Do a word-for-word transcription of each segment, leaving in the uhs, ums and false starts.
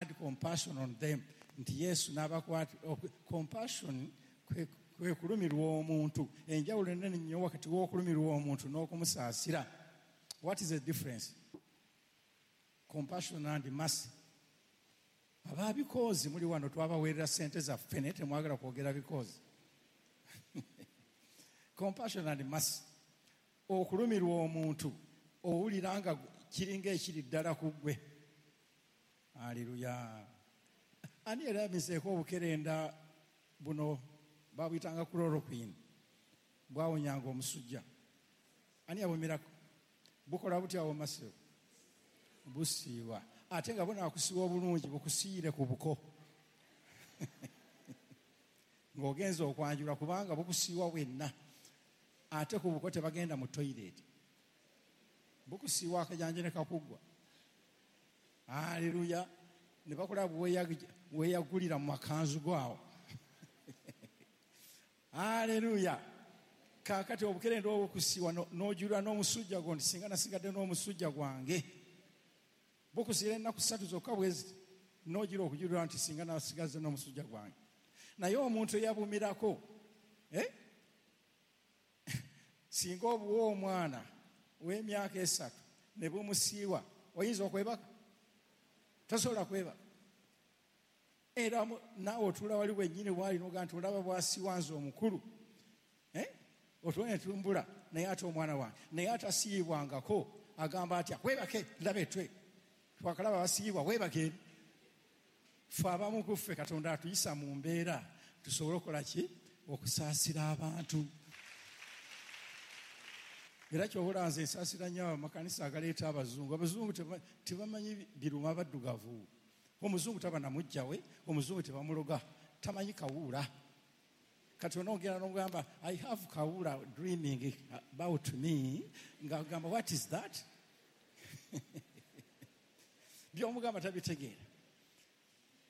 Compassion on them, nti Yesu n'abakwata. Compassion kwe kulumirwa omuntu. Enjawulo ennene nnyo wakati w'okulumirwa omuntu n'okumusaasira. What is the difference? Compassion and mercy. Ababikozi muli wano, twabaweerera ssente zaffe naye temwagala kwogera bikozi. Compassion and mercy. Okulumirwa omuntu owulira nga kiringa ekiri ddala ku ggwe. Aleluya. Ani era yamizeeko obukerenda buno babuyitanga chloroquine, bwawonyanga omusujja? Ani yabumirako? Bukola butya awo masiro? Busiiwa, ate nga bunaakusiiwa obulungi bukusiire ku buko ng'ogenza okwanjula, kubanga bukusiiwa bwenna, ate ku buko tebagenda mu toilet, bukusiiwa akajanja ne kakuggwa. Aleluya. Ne bakola weeyagulira mu makanzu gwawo. Aleluya. Kaakati obukerenda obukusiiwa n'ojulira n'omusujja gwo nti singa nasigadde n'omusujja gwange. Bukusiira ennaku ssatu zokka bwezi n'ojula okujulira nti singa nasigadde n'omusujja gwange. Naye omuntu eyabumirako, eh? Singa obuwa omwana w'emyaka esatu ne bumusiiwa, oyinza okwebaka? Tosobola kwebaka. Era naawe otuula wali wennyini waali n'ogamba nti olaba bw'asiiwa nze omukulu, eh? Otuula ne tumbula, naye ate omwana wange. Naye atasiiyibwangako agamba atya? Weebake, laba etwe twakalaba basiiyibwa, weebake. Ffe abamu ku ffe Katonda atuyisa mu mbeera tusobole okukola ki? Okusaasira abantu. Era ky'obola nze nsaasira nnyo amakanisa agaleeta abazungu. Abazungu tebamanyi biruma baddugavu. Omuzungu taba na muggya we, omuzungu tebamuloga, tamanyi kawuula. Kati onoogenda n'omugamba, I have kawuula dreaming about me, ng'agamba what is that? By'omugamba tabitegeera.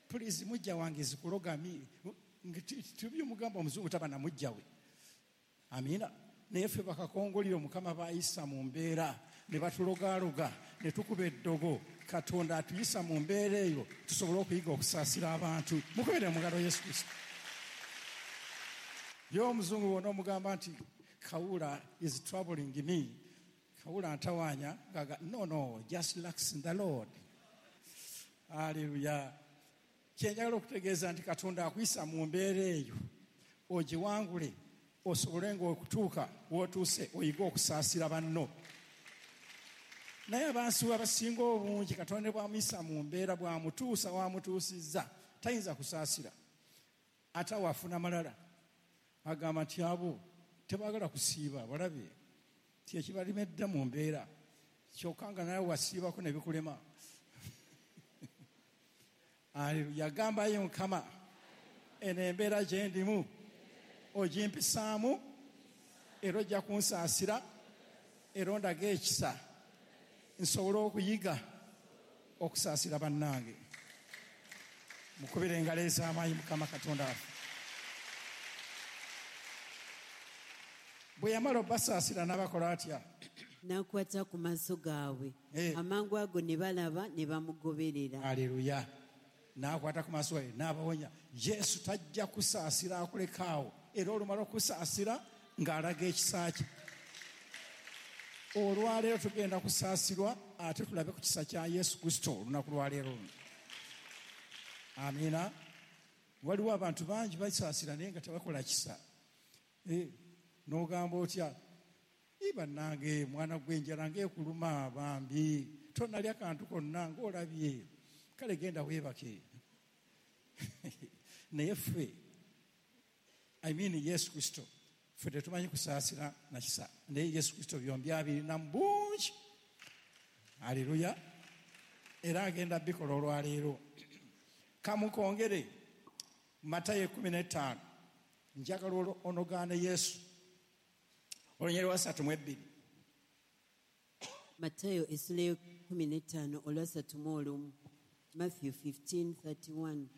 Please mujja wange zikuloga mi, tubyomugamba omuzungu taba na mujja we. Amiina. Naye ffe bakakongoliro Mukama baayisa mu mbeera ne batulogaaloga ne tukuba eddogo. Katonda atuyisa mu mbeera eyo tusobole okuyiga okusaasira abantu. Mukubire mu ngalo Yesu Kristo. Ye omuzungu bw'ona omugamba nti kawuula is troubling me, kawuula ntawaanya, gaga no no, just relax in the Lord. Hallelujah. Kyenjagala okutegeeza nti Katonda akuyisa mu mbeera eyo ogiwangule, osobole ng'okutuuka w'otuuse oyige okusaasira banno. Naye abantu abasinga obungi Katonda ne bw'amuyisa mu mbeera bw'amutuusa w'amutuusizza tayinza kusaasira. Ate awo afuna malala, agamba nti abo tebaagala kusiiba, balabe ti ekibalemedde mu mbeera, kyokka nga nawe wasiibako ne bikulema. Aleluya. Gambayo Mukama, eno embeera gye ndimu ogimpisaamu, era ojja kunsaasira, era ondaga ekisa nsobole okuyiga okusaasira bannange. Mukubire engalo ez'amaanyi Mukama Katonda waffe. Bwe yamala obbasaasira n'abakola atya? N'akwata ku maaso gaabwe, Eh. amangu ago ne balaba ne bamugoberera. Aleluya. N'akwata ku maaso gaabwe n'abawonya. Yesu tajja kusaasira akulekaawo, era olumala okusaasira ng'alaga ekisa kye. Olwaleero tugenda kusaasirwa ate tulabe ku kisa kya Yesu Kristo olunaku lwaleero luno. Amiina. Waliwo abantu bangi basaasira naye nga tebakola kisa. Eh, n'ogamba otya? Ii bannange, mwana gw'enjala ng'ekuluma bambi, tonnalya kantu konna ng'olabye, kale genda weebake. Naye ffe, I mean Yesu Kristo, ffe tetumanyi kusaasira na kisa, naye Yesu Kristo byombi abirina mu bungi. Aleluya. Era agenda bikola olwaleero. Kamukongere Matayo ekkumi n'ettaano. Njagala onogaane Yesu. Olunyiriri lwa ssatu mu ebbiri. Matayo essula y'ekkumi n'ettaano olwasatu mu olumu. Matthew fifteen thirty-one.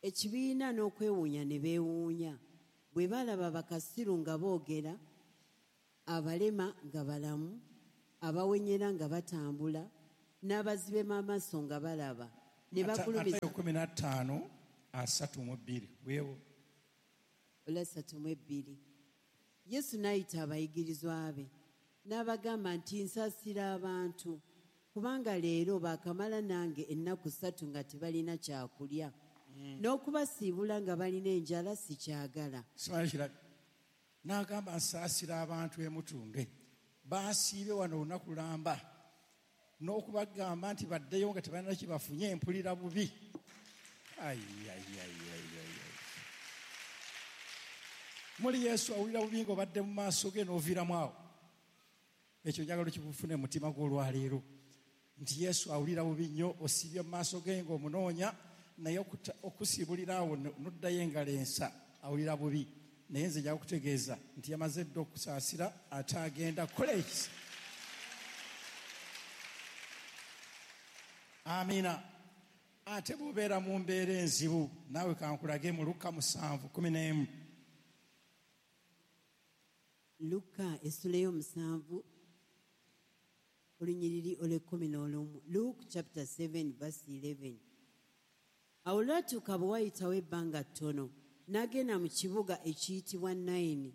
Ekibiina n'okwewuunya ne beewuunya bwe balaba bakasiru nga boogera, abalema nga balamu, abawenyera nga batambula, n'abazibe b'amaaso nga balaba. Ne bagulumiza Matayo kumi na ttaano asatu mu bbiri. Weewo. Olwasatu mu ebbiri. Yesu n'ayita abayigirizwa be n'abagamba nti nsaasira abantu kubanga leero baakamala nange ennaku ssatu nga tebalina kyakulya. N'okubasiibula nga balina enjala sikyagala. Simanyi kirabi. N'agamba nsaasira abantu emutunde. Baasiibye wano olunaku lamba. N'okubagamba nti baddeyo nga tebalina kye bafunye mpulira bubi. Ai, ai, ai, ai, ai, ai. Muli Yesu awulira bubi ng'obadde mu maaso ge n'oviiramu awo. Ekyo njagala okikufune mu mutima gw'olwaleero. Nti Yesu awulira bubi nnyo osiibye mu maaso ge ng'omunoonya naye okuta-, okusiibulira awo n'oddayo engalo ensa awulira bubi. Naye nze nja kukutegeeza nti yamaze dda okusaasira ate agenda kukola ekisa. Amiina. Ate bw'obeera mu mbeera enzibu naawe kankulage mu Luka musanvu kumi n'emu. Luka essula ey'omusanvu olunyiriri olw'ekkumi n'olumu. Luke chapter seven verse eleven. Awo olwatuuka bwe wayitawo ebbanga ttono n'agenda mu kibuga ekiyitibwa Nayini.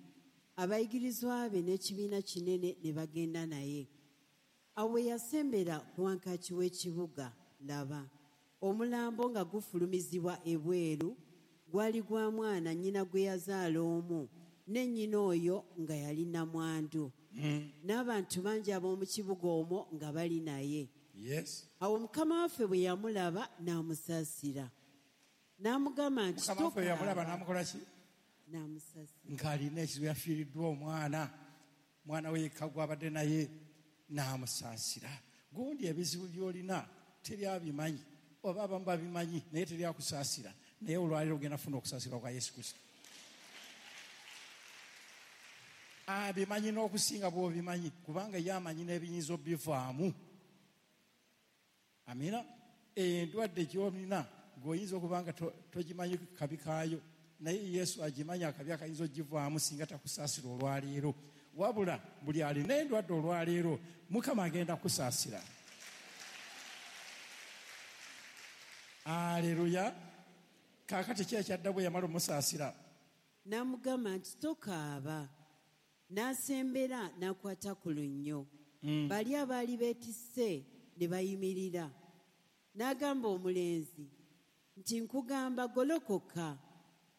Abayigirizwa be n'ekibiina kinene ne bagenda naye. Awo bwe yasembera ku wankaaki w'ekibuga, laba, omulambo nga gufulumizibwa ebweru gwali gwa mwana nnyina gwe yazaala omu, ne nnyina oyo nga yali nnamwandu. Mm. N'abantu bangi ab'omu kibuga omwo nga bali naye. Yes. Awo Mukama waffe bwe yamulaba n'amusaasira. N'amugamba nti, Mukama waffe bwe yamulaba Tokaaba. n'amukola ki? N'amusaasira. Ng'alina ekizibu yafiiriddwa omwana. Mwana we yekka gw'abadde naye n'amusaasira. Gundi ebizibu by'olina teri abimanyi, oba abamu babimanyi naye teri akusaasira. Naye olwaleero ogenda kufuna okusaasirwa kwa Yesu Kristo. Abimanyi n'okusinga bw'obimanyi, kubanga ye amanyi n'ebiyinza obbivaamu. Amiina. Endwadde gy'olina gw'oyinza okuba nga to-, togimanyi kabi kaayo, naye Yesu agimanyi akabi akayinza oggivaamu singa takusaasira olwaleero. Wabula buli alina endwadde olwaleero Mukama agenda kusaasira. Aleluya. Kaakati ki ekyadda bwe yamala omusaasira? N'amugamba nti tokaaba. N'asembera n'akwata ku lunnyo. Mm. Bali abaali beetisse ne bayimirira. N'agamba omulenzi nti nkugamba golokoka.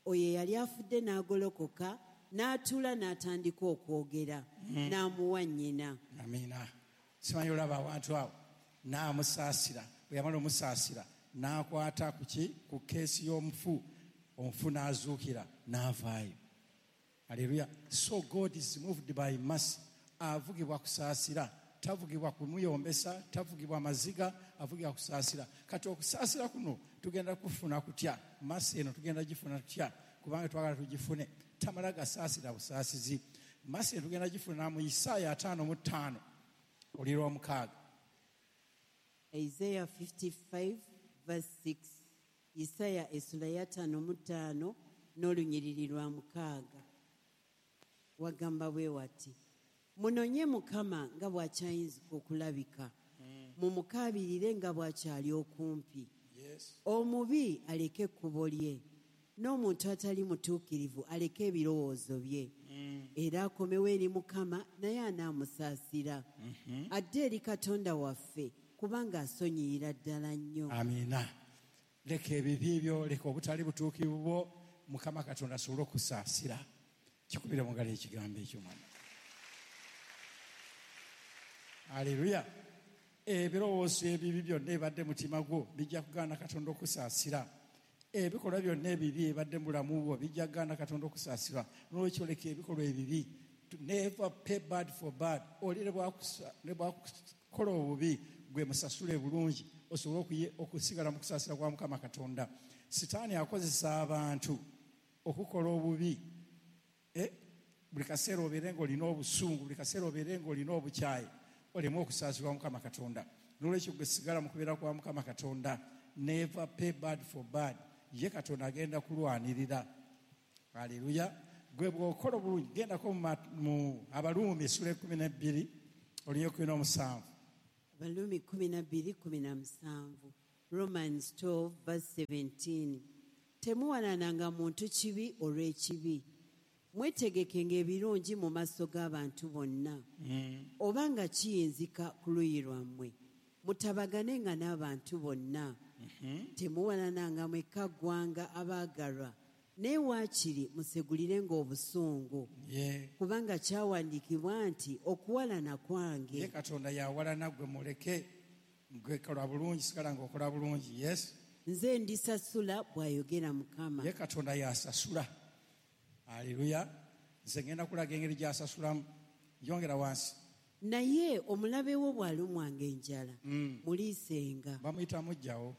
Oyo eyali afudde n'agolokoka, n'atuula n'atandika okwogera, Mm. n'amuwa nnyina. Amiina. Simanyi olaba abantu abo. N'amusaasira. Bwe yamala omusaasira, n'akwata ku ki? Ku keesi y'omufu. Omufu n'azuukira, n'avaayo. Hallelujah. So God is moved by mercy. Avugibwa kusaasira, tavugibwa kumuyombesa, tavugibwa maziga, avugibwa kusaasira. Kati okusaasira kuno tugenda kufuna kutya? Mercy eno tugenda gifuna tutya? Kubanga twagala tugifune. Tamala gasaasira busaasizi. Mercy eno tugenda gifuna mu Isaaya ataano mu ttaano, oliro omukaaga. Isaiah fifty-five verse six. Isaaya essula ya ttaano mu ttaano n'olunyiriri lwa mukaaga. Wagamba bwe wati, munonye Mukama nga bw'akyayinzika okulabika, Mm. mumukaabirire nga bw'akyali okumpi. Yes. Omubi aleke ekkubo lye, n'omuntu atali mutuukirivu aleke ebirowoozo bye. Mm. Era akomewo eri Mukama naye anaamusaasira. Mm-hmm. Adde eri Katonda waffe kubanga asonyiyira ddala nnyo. Amiina. Leka ebibi byo, leka obutali butuukirivu bwo, Mukama Katonda asobole okusaasira. Kikubire mu ngalo ekigambo ekyo mwana. Haleluya. Ebirowoozo ebibi byonna ebibadde mu mutima gwo bijja kugaana Katonda okusaasira. Ebikolwa byonna ebibi ebibadde mu bulamu bwo bijja kugaana Katonda okusaasira. N'olwekyo leka ebikolwa ebibi. Never pay bad for bad. Oli ne bwakusa-, ne bwakukola obubi gwe musasule bulungi osobole okuye-, okusigala mu kusaasira kwa Mukama Katonda. Sitaani akozesa abantu okukola obubi. Eh, buli kaseera obeere ng'olina obusungu, buli kaseera obeere ng'olina obukyayi, oleme okusaasirwa Mukama Katonda. N'olwekyo gwe sigala mu kubeera kwa Mukama Katonda. Never pay bad for bad. Ye Katonda agenda kulwanirira. Haleluya. Gwe bw'okola obulungi, gendako mu ma-, mu Abaluumi essula ekkumi n'ebbiri, olunyiriri ekkumi n'omusanvu. Abaluumi kkumi na bbiri, kkumi na musanvu. Romans twelve verse seventeen. Temuwalananga muntu kibi olw'ekibi. Mwetegekenga ebirungi mu maaso g'abantu bonna. Mm. Obanga kiyinzika ku luuyi lwammwe, mutabaganenga n'abantu bonna. Mm-hmm. Temuwalananga mwekka ggwanga abaagalwa, naye waakiri musegulirenga obusungu. Yeah. Kubanga kyawandiikibwa nti okuwalana kwange. Ye Katonda yawalana gwe muleke, gwe kola bulungi, sigala ng'okola bulungi. Yes. Nze ndisasula bw'ayogera Mukama. Ye Katonda yasasula. Haleluya. Nze ngenda kulaga engeri gy'asasulamu. Yongera wansi. Naye omulabe wo bw'alumwanga enjala, Mm. muliisenga. Bamuyita muggyawo.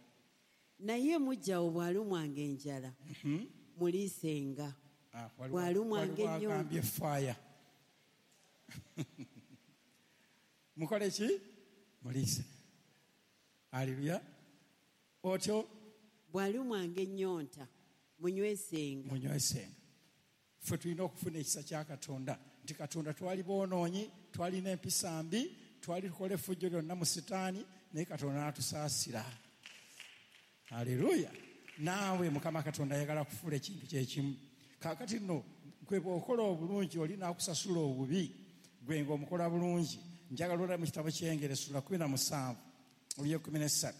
Naye muggyawo bw'alumwanga enjala, Mm-hmm. muliisenga. Ah, waliwo- Bw'alumwanga waliwo ennyonta. agambye fire. Mukole ki? Muliise. Haleluya. Otyo? Bw'alumwanga ennyonta, munywesenga. Munywesenga. Ffe tulina okufuna ekisa kya Katonda nti Katonda twali boonoonyi, twalina empisa mbi, twali tukola effujjo lyonna mu Sitaani, naye Katonda n'atusaasira. Haleluya. Naawe Mukama Katonda ayagala kufuula ekintu kyekimu. Kaakati nno gwe bw'okola obulungi oli n'akusasula obubi, gwe ng'omukola bulungi. Njagala olabe mu kitabo ky'Engero essula kkumi na musanvu olw'ekkumi n'essatu.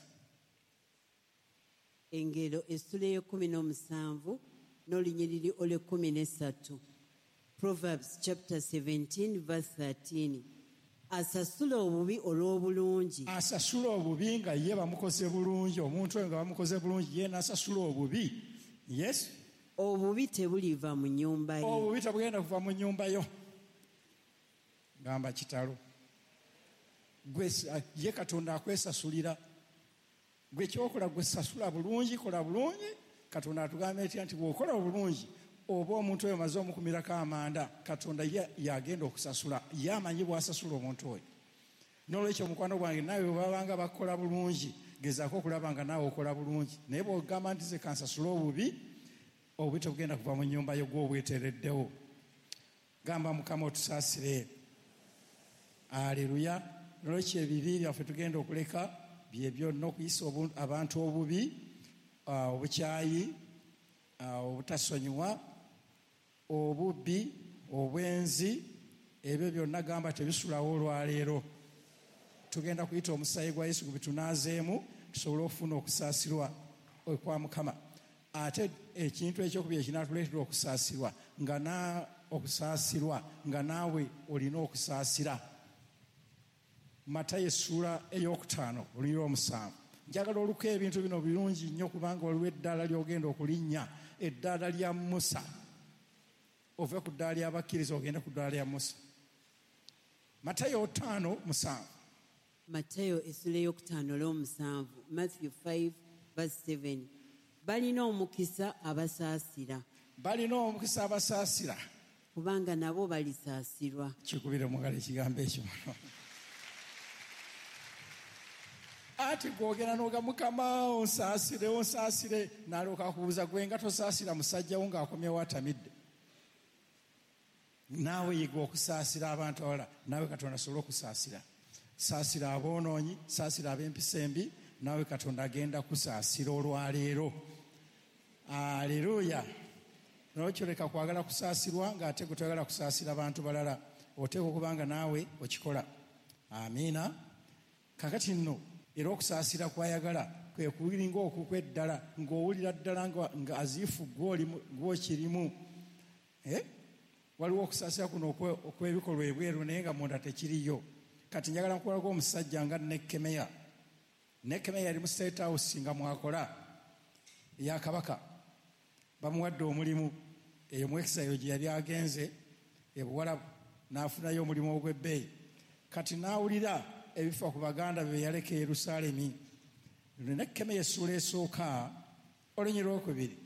Engero essula ey'ekkumi n'omusanvu n'olunyiriri olw'ekkumi n'essatu. Proverbs chapter seventeen verse thirteen. Asasula obubi olw'obulungi. Asasula obubi nga ye bamukoze bulungi, omuntu oyo nga bamukoze bulungi ye n'asasula obubi. Yes. Obubi tebuliva mu nnyumba ye. Obubi tebugenda kuva mu nnyumba yo. Gamba kitalo. Gwe ye Katonda akwesasulira. Gwe ky'okola gwe sasula bulungi, kola bulungi. Katonda atugambye atya nti bw'okola obulungi oba omuntu oyo omaze omukumirako amanda, Katonda ye yagenda okusasula. Ye amanyi bw'asasula omuntu oyo. N'olwekyo mukwano gwange naawe bwe babanga bakola bulungi, gezaako okulaba nga naawe okola bulungi. Naye bw'ogamba nti nze kansasule obubi, obubi tebugenda kuva mu nnyumba yo gw'obweteereddewo. Gamba Mukama otusaasire. Aleluya. N'olwekyo ebibi byaffe tugenda okuleka bye byonna, okuyisa obu-, abantu obubi, ah, obukyayi, ah, obutasonyiwa, obubbi, obwenzi, ebyo byonna gamba tebisulawo olwaleero. Tugenda kuyita omusaayi gwa Yesu gubitunaazeemu tusobole okufuna okusaasirwa okwa Mukama. Ate ekintu ekyokubiri ekinaatuleetera okusaasirwa, nga na-, okusaasirwa nga naawe olina okusaasira. Matayo essuula ey'okutaano olunyiriri lw'omusanvu. Njagala oluko ebintu bino birungi nnyo kubanga waliwo eddaala ly'ogenda okulinnya, eddaala lya Musa. Ove ku ddaala ly'abakkiriza ogende ku ddaala lya Musa. Matayo ttaano musanvu. Matayo essuula ey'okutaano olw'omusanvu, Matthew five verse seven. Balina omukisa abasaasira. Balina omukisa abasaasira. Kubanga nabo balisaasirwa. Kikubire mu ngalo ekigambo ekyo. Ati gwogera n'oga Mukama onsaasire, onsaasire, n'alyoka akubuuza gwe nga tosaasira musajja wo ng'akomyewo atamidde. Naawe yiga okusaasira abantu abalala, naawe Katonda asobole okusaasira. Saasira aboonoonyi, saasira ab'empisa embi, naawe Katonda agenda kusaasira olwaleero. Aleluya. N'olwekyo leka kwagala kusaasirwa ng'ate gwe toyagala kusaasira bantu balala. Oteekwa okuba nga naawe okikola. Amiina. Kaakati nno era okusaasira kw'ayagala kwe kulinga okukweddala, ng'owulira ddala nga, nga aziifu gw'olimu, gw'okirimu. Eh? Waliwo okusaasira kuno okwe-, okw'ebikolwa ebweru naye nga munda tekiriyo. Kati njagala nkulaga omusajja nga Nekemeya. Nekemeya yali mu State House nga mwakola eya kabaka. Bamuwadde omulimu eyo mu exile gye yali agenze e Buwalabu, n'afunayo omulimu ogw'ebbeeyi. Kati n'awulira ebifa ku baganda be yaleka e Yerusaalemi. Nekemeya essuula esooka olunyiriri lwokubiri.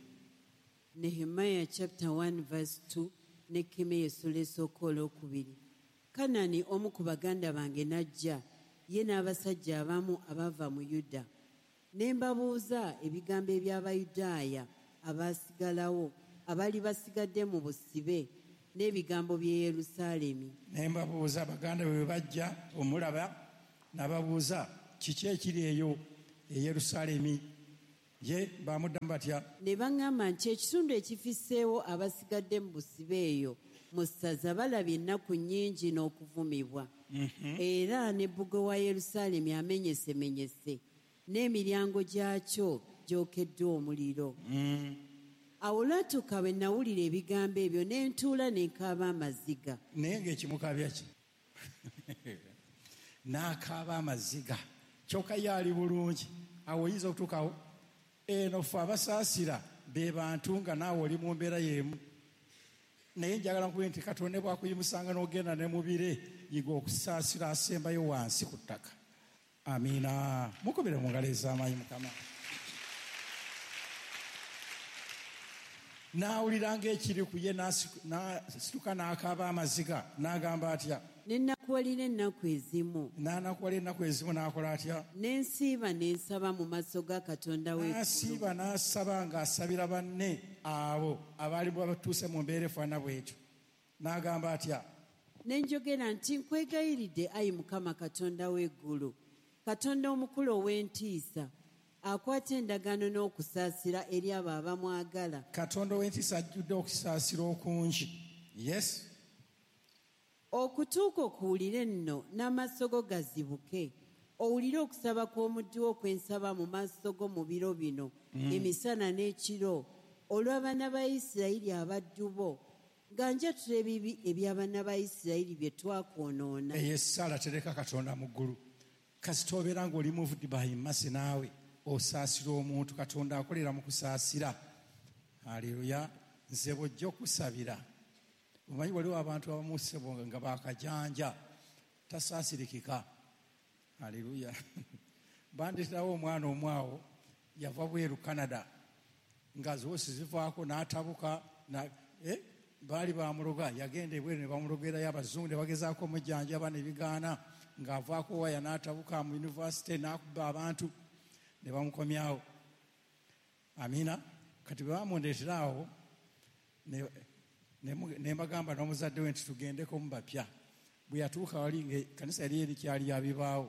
Nehemiah chapter one verse two, Nekemeya essuula esooka olwokubiri. Kanani omu ku baganda bange n'ajja, ye n'abasajja abamu abava mu Yuda. Ne mbabuuza ebigambo eby'Abayudaaya abaasigalawo, abaali basigadde mu busibe, n'ebigambo by'e Yerusaalemi. Ne mbabuuza baganda be bwe bajja omulaba, n'ababuuza kiki ekiri eyo e Yerusaalemi. Ye bamuddamu batya? Ne baŋŋamba nti ekitundu ekifisseewo abasigadde mu busibe eyo mu ssaza balabye ennaku nnyingi n'okuvumibwa. Era ne bbugwe wa Yerusaalemi amenyesemenyese n'emiryango gyakyo gyokeddwa omuliro. Awo olwatuuka bwe nawulira ebigambo ebyo ne ntuula ne nkaaba amaziga. Naye ng'ekimukabya ki? N'akaaba amaziga. Kyokka ye ali bulungi. Awo oyinza okutuukawo. Eno ffe abasaasira be bantu nga naawe oli mu mbeera y'emu. Naye njagala nkubire nti Katonda bw'akuyimusanga n'ogenda ne mu bire, yiga okusaasira asembayo wansi ku ttaka. Amiina. Mukubire mu ngalo ez'amaanyi Mukama. N'awulira ng'ekiri ku ye n'asituka n'akaaba amaziga n'agamba atya? Ne nnakuwalira ennaku ezimu. N'anakuwalira ennaku ezimu n'akola atya? Ne nsiiba ne nsaba mu maaso ga Katonda w'eggulu. N'asiiba n'asaba ng'asabira banne abo abaali batuuse mu mbeera efaanana bw'etyo. N'agamba atya? Ne njogera nti nkwegayiridde ayi Mukama Katonda w'eggulu, Katonda omukulu ow'entiisa, akwata endagaano n'okusaasira eri abo abamwagala. Katonda ow'entiisa ajjudde okusaasira okungi. Yes. Okutuuka okuwulire nno n'amaaso go gazibuke, owulire okusaba kw'omuddu wo kwe nsaba mu maaso go mu biro bino, emisana n'ekiro, olw'abaana ba Isirayiri abaddu bo, nga njatula ebibi eby'abaana ba Isirayiri bye twakwonoona. Eyo essaala tereka Katonda mu ggulu. Kasita obeera ng'oli moved by mercy naawe osaasira omuntu, Katonda akolera mu kusaasira. Haleluya. Nze bw'ojja okusabira, omanyi waliwo abantu abamu ssebo nga baakajanja, tasaasirikika. Haleluya. Bandeeterawo omwana omu awo yava bweru Canada, nga zoosi zivaako n'atabuka, eh, baali bamuloga, yagenda ebweru ne bamulogerayo abazungu ne bagezaako omujjanjaba ne bigaana, ng'avaako waya n'atabuka mu yunivasite n'akuba abantu ne bamukomyawo. Amiina. Kati bwe bamundeetera awo ne mbagamba n'omuzadde we nti tugendeko mu bapya. Bwe yatuuka wali ng'ekkanisa yali erikyali ya bibaawo,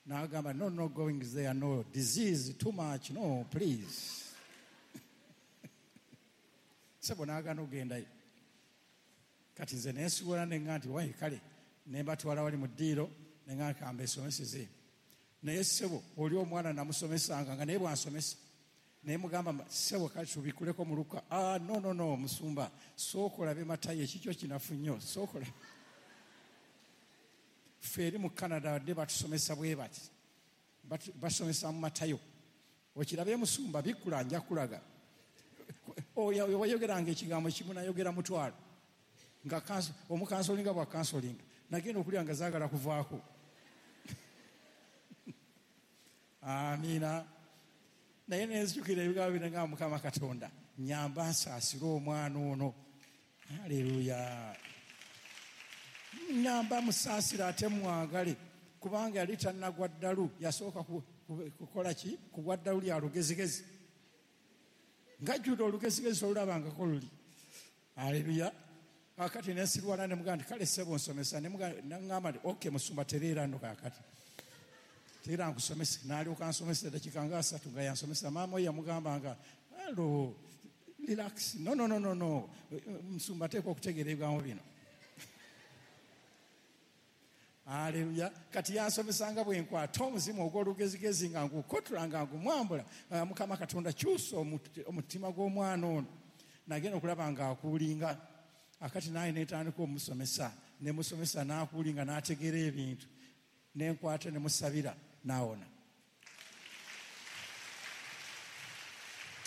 n'agamba no, no going there, no disease too much, no please. Ssebo n'agaana okugendayo. Kati nze ne nsigula ne ŋŋamba nti wayi kale, ne mbatwala wali mu ddiiro ne ŋŋamba ka mbesomeseze. Naye ssebo oli omwana namusomesanga nga naye bw'ansomesa. Naye mugamba ssebo kale tubikuleko mu Luka. Ah, no, no, no, musumba, sooka olabe Matayo ekikyo kinafu nnyo, sooka olabe. Ffe eri mu Canada badde batusomesa bwe bati, basomesa mu Matayo. Okirabe musumba bikkula nja kulaga. Oyo wayogeranga ekigambo kimu nayogera mutwalo. Nga omukansolinga bwa kansolinga. Nagenda okulya nga zaagala kuvaako. Amiina. Naye nenzijukira ebigambo bino nga Mukama Katonda nnyamba nsaasire omwana ono. Haleluya. Nnyamba musaasire ate mwagale, kubanga yali tannagwa ddalu, yasooka kukola ki? Kugwa ddalu lya lugezigezi. Ng'ajjudde olugezigezi olulabangako luli. Haleluya. Kaakati ne nsirwala ne mugamba nti kale ssebo nsomesa, ne ŋŋamba nti okay musumba tereera nno kaakati. Teera nkusomese. N'alyoka ansomesa eddakiika nga asatu nga yansomesa. Maama we yamugamba nga hello, relax, no, no, no, no, no, musumba ateekwa okutegeera ebigambo bino. Haleluya. Kati yansomesanga bwe nkwata omuzimu ogw'olugezigezi nga ngukotula nga ngumwambula. Mukama Katonda kyusa omutima gw'omwana ono. Nagenda okulaba ng'akuulinga. Akati naye netandika omusomesa, ne musomesa n'akuulinga n'ategeera ebintu. Ne nkwata ne musabira n'awona.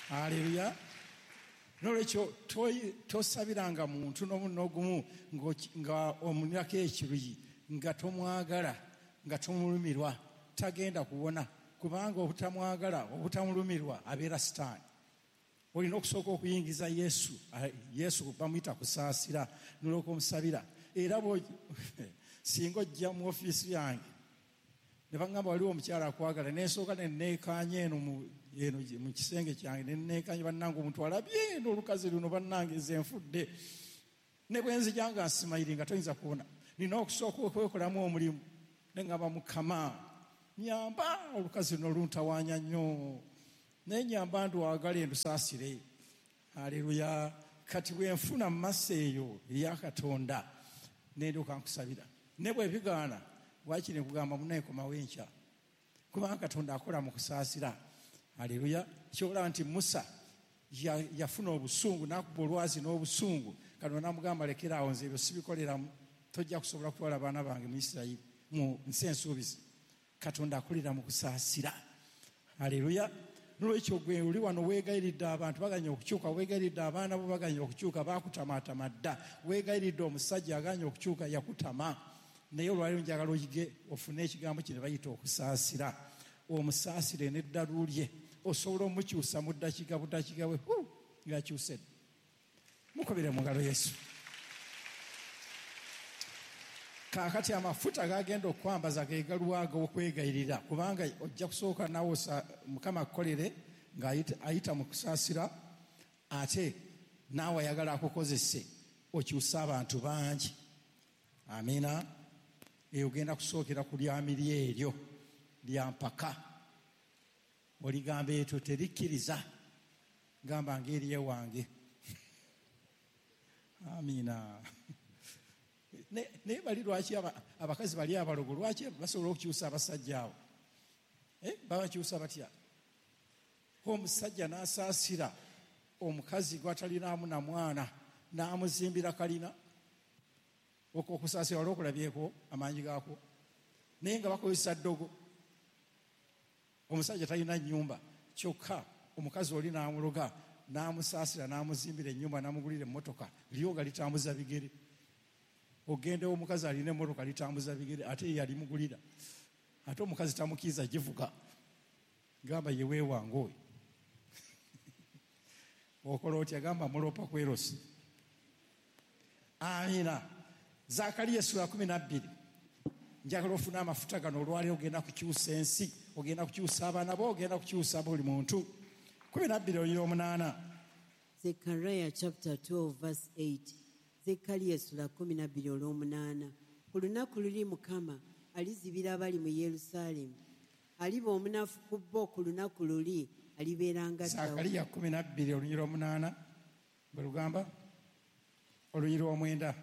Haleluya. Nolwekyo tosabiranga muntu n'omu n'ogumu nga omunyako ekiruyi, nga tomwagala, nga tomulumirwa, tagenda kuwona, kubanga obutamwagala, obutamulumirwa abeera Sitaani. Olina okusooka okuyingiza Yesu, Yesu bamuyita kusaasira, n'olwoka omusabira. Era singa ojja mu ofiisi yange ne baŋŋamba waliwo omukyala akwagala, ne nsooka ne neekaanya eno mu kisenge kyange, ne neekaanya bannange omuntu alabye eno olukazi luno bannange nze nfudde. Ne bwe nzija nga nsimayiri nga toyinza kuwona. Nina okusooka okwekolamu omulimu. Ne ŋŋamba Mukama, Nyamba olukazi luno luntawaanya nnyo, naye nyamba ndwagala endusaasire. Haleluya. Kati bwe nfuna mu maaso eyo eya Katonda nendyoka nkusabira, ne bwe bigaana wakiri nkugamba munnaye komawo enkya, kubanga Katonda akola mu kusaasira. Haleluya. Kyolaba nti Musa yafuna obusungu n'akuba olwazi n'obusungu, Katonda n'amugamba lekera awo, nze ebyo sibikoleramu, tojja kusobola kutwala abaana bange mu Isirayiri mu nsi ensuubizi. Katonda akolera mu kusaasira. Haleluya. Nolwekyo gwe oli wano weegayiridde abantu baganye okukyuka, weegayiridde abaana bo baganye okukyuka, baakutamaatama dda, weegayiridde omusajja aganye okukyuka, yakutama. Naye olwaleero njagala oyige ofune ekigambo kino bayita okusaasira. Omusaasire n'eddalu lye, osobola omukyusa mu ddakiika buddakiika bwe ng'akyuse. Mukubire mu ngalo Yesu. Kaakati amafuta gagenda okwambaza ge galuwaga okwegayirira, kubanga ojja kusooka nawe Mukama akukolere ng'ayita mu kusaasira, ate naawe ayagala akukozese okyuse abantu bangi. Amiina. Eyo ogenda kusookera ku lyamiri eryo lya mpaka, oligamba etyo terikkiriza, gamba ng'eriye wange. Amiina. Naye bali lwaki abakazi bali abalogo lwaki basobola okukyusa abasajja abo? Babakyusa batya? Omusajja n'asaasira omukazi gw'atalinaamu na mwana n'amuzimbira kalina. Okwo okusaasira wali okulabyeko amaanyi gaakwo, naye nga bakozesa ddogo. Omusajja talina nnyumba, kyokka omukazi oli n'amuloga n'amusaasira n'amuzimbira ennyumba n'amugulira emmotoka, lyoga litambuza bigere. Ogendewo omukazi alina emmotoka litambuza bigere, ate ye yalimugulira, ate omukazi tamukkiriza givuga, gamba ye weewange oyo. Okola otya? Gamba mulopa kwerosi. Amiina. Zaakaliya essula kumi na bbiri. Njagala ofune amafuta gano olwaleero, ogenda kukyusa ensi, ogenda kukyusa abaana bo, ogenda kukyusa buli muntu. Kumi na bbiri olunyiriri omunaana. Zechariah chapter twelve verse eight. Zekkaliya essula kumi na bbiri olw'omunaana. Ku lunaku luli Mukama alizibira abali mu Yerusaalemi, aliba omunafu ku bo ku lunaku luli alibeera nga Dawudi. Zaakaliya kumi na bbiri olunyiriri omunaana bwe lugamba, olunyiriri omwenda.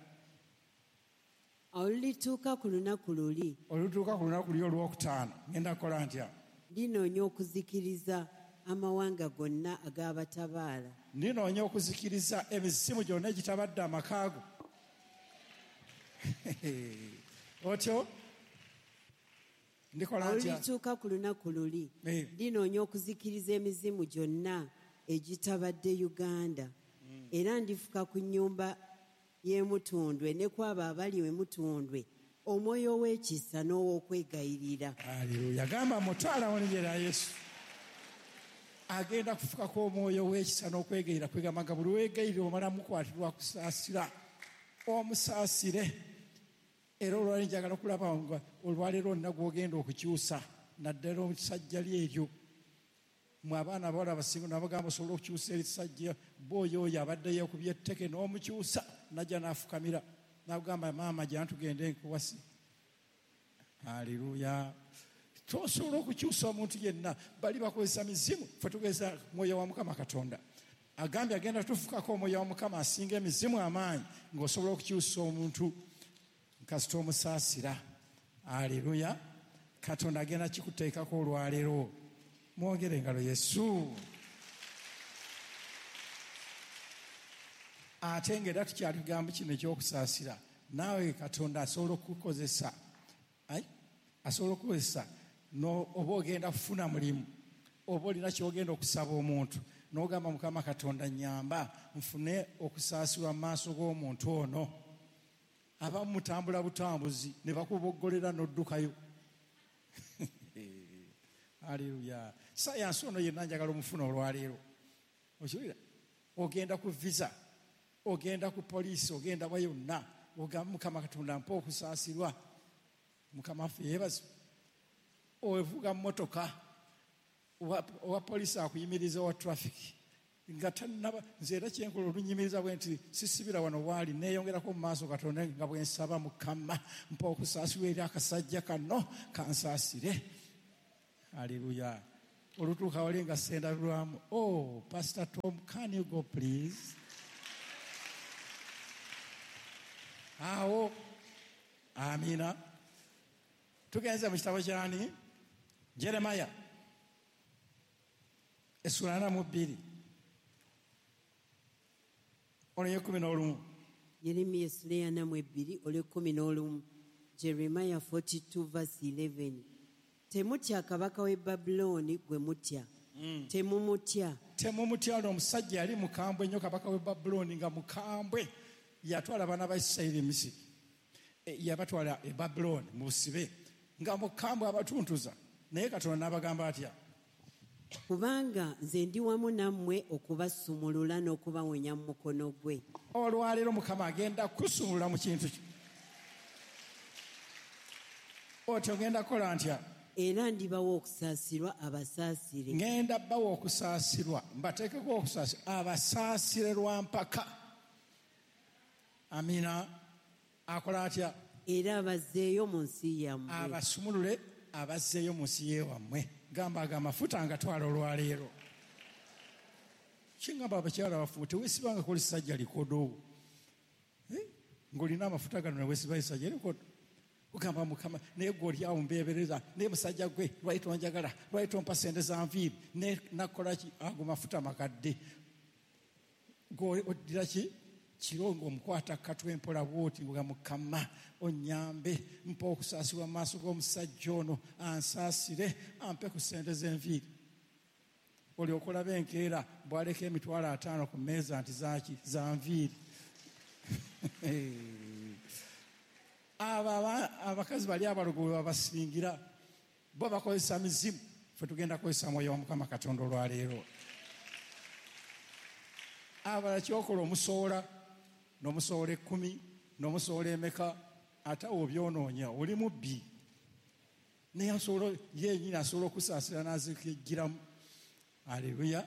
Olulituuka ku lunaku luli, olutuuka ku lunaku luli olwokutaano, ngenda kukola ntya? Ndinoonya okuzikiriza amawanga gonna ag'abatabaala. Ndinoonya okuzikiriza emizimu gyonna egitabadde amaka go. Otyo ndikola ntya? Olulituuka ku lunaku luli, ndinoonya okuzikiriza emizimu gyonna egitabadde Uganda, era ndifuka ku nnyumba y'emutundwe ne ku abo abali emutundwe omwoyo w'ekisa n'ow'okwegayirira. Haleluya. Gamba mutwala mu linnya lya Yesu. Agenda kufukako omwoyo w'ekisa n'okwegayirira, kwegamba nga buli weegayirira omala mukwatirwa kusaasira, omusaasire. Era olwaleero njagala okulaba nga olwaleero olina gw'ogenda okukyusa, naddala omusajja lyeryo. Mwe abaana abawala abasinga nabagamba osobola okukyusa erisajja, bw'oyo oyo abadde yeekubye etteke n'omukyusa, najja n'afukamira n'agamba maama jja tugende nkuwase. Haleluya. Tosobola okukyusa omuntu yenna, bali bakozesa mizimu, ffe tugeza mwoyo wa Mukama Katonda. Agambye agenda tufukako omwoyo wa Mukama asinga emizimu amaanyi, ng'osobola okukyusa omuntu kasita omusaasira. Haleluya. Katonda agenda kikuteekako olwaleero. Mwongere engalo Yesu. Ate ng'era tukyali kigambo kino ekyokusaasira, naawe Katonda asobola okukozesa, asobola okukozesa oba ogenda kufuna mulimu, oba olina ky'ogenda okusaba omuntu, n'ogamba Mukama Katonda nnyamba nfune okusaasirwa mu maaso g'omuntu ono. Abamu mutambula butambuzi ne bakuboggolera n'oddukayo. Haleluya. Sayansi ono yenna njagala omufuna olwaleero. Okiwulira? Ogenda ku visa, ogenda ku poliisi, ogenda wa yonna, ogamba Mukama Katonda mpa okusaasirwa. Mukama waffe yeebazibwe. Ovuga mmotoka, owa poliisi akuyimiriza, owa traffic nga tannaba. Nze era kyenkola olunyimiriza bwe nti sisibira wano waali, neeyongerako mu maaso Katonda nga bwe nsaba Mukama mpa okusaasirwa eri akasajja kano kansaasire. Aleluya. Olutuuka wali nga sendabirwamu. Oh, Pastor Tom, can you go please? Awo, amina. Tugenze mu kitabo kyani? Jeremiah. Essula ana mu bbiri. Olw'ekkumi n'olumu. Yeremiya essula ana mu ebbiri olw'ekkumi n'olumu. Jeremiah forty-two verse eleven. Temutya kabaka w'e Babulooni gwe mutya. Mm. Temumutya. Temumutya. Ono omusajja yali mukambwe nnyo, kabaka w'e Babulooni nga mukambwe. Yatwala abaana ba Isirayiri e Misiri. E, yabatwala e Babulooni mu busibe nga mukambwe abatuntuza. Naye Katonda n'abagamba atya? Kubanga nze ndi wamu nammwe okubasumulula n'okubawonya mu mukono gwe. Olwaleero Mukama agenda kusumulula mu kintu kyo. Otyo ngenda kukola ntya? Era ndibawa okusaasirwa abasaasire. Ngenda bawa okusaasirwa, mbateekeko okusaasirwa abasaasire lwa mpaka. Amina. Akola atya? Era abazzeeyo mu nsi yammwe. Abasumulule abazzeeyo mu nsi yewammwe. Gamba aga amafuta ngatwala olwaleero. Kingamba abakyala bafu teweesibanga ku lisajja likodo. Eh? Ng'olina amafuta gano ne weesiba lisajja likodo. Ogamba Mukama naye gwe oli awo mbeebereza, naye musajja gwe lwaki tonjagala, lwaki tompa ssente za nviiri, ne nakola ki? Ago mafuta makadde. Gwe oddira ki? Kiro ng'omukwata katwe mpola bw'oti nga Mukama onnyambe, mpa okusaasirwa mu maaso g'omusajja ono, ansaasire, ampe ku ssente z'enviiri. Olyoka olaba enkeera bw'aleka emitwalo ataano ku mmeeza nti zaaki? Za nviiri. Abo abakazi bali abalogo bwe babasingira bo bakozesa mizimu, ffe tugenda kukozesa mwoyo wa Mukama Katonda olwaleero. Abalala kyokola omusoola n'omusoola ekkumi n'omusoola emeka, ate awo obyonoonya, oli mubbi. Naye asobola yennyini asobola okusaasira n'azikijjiramu. Aleluya.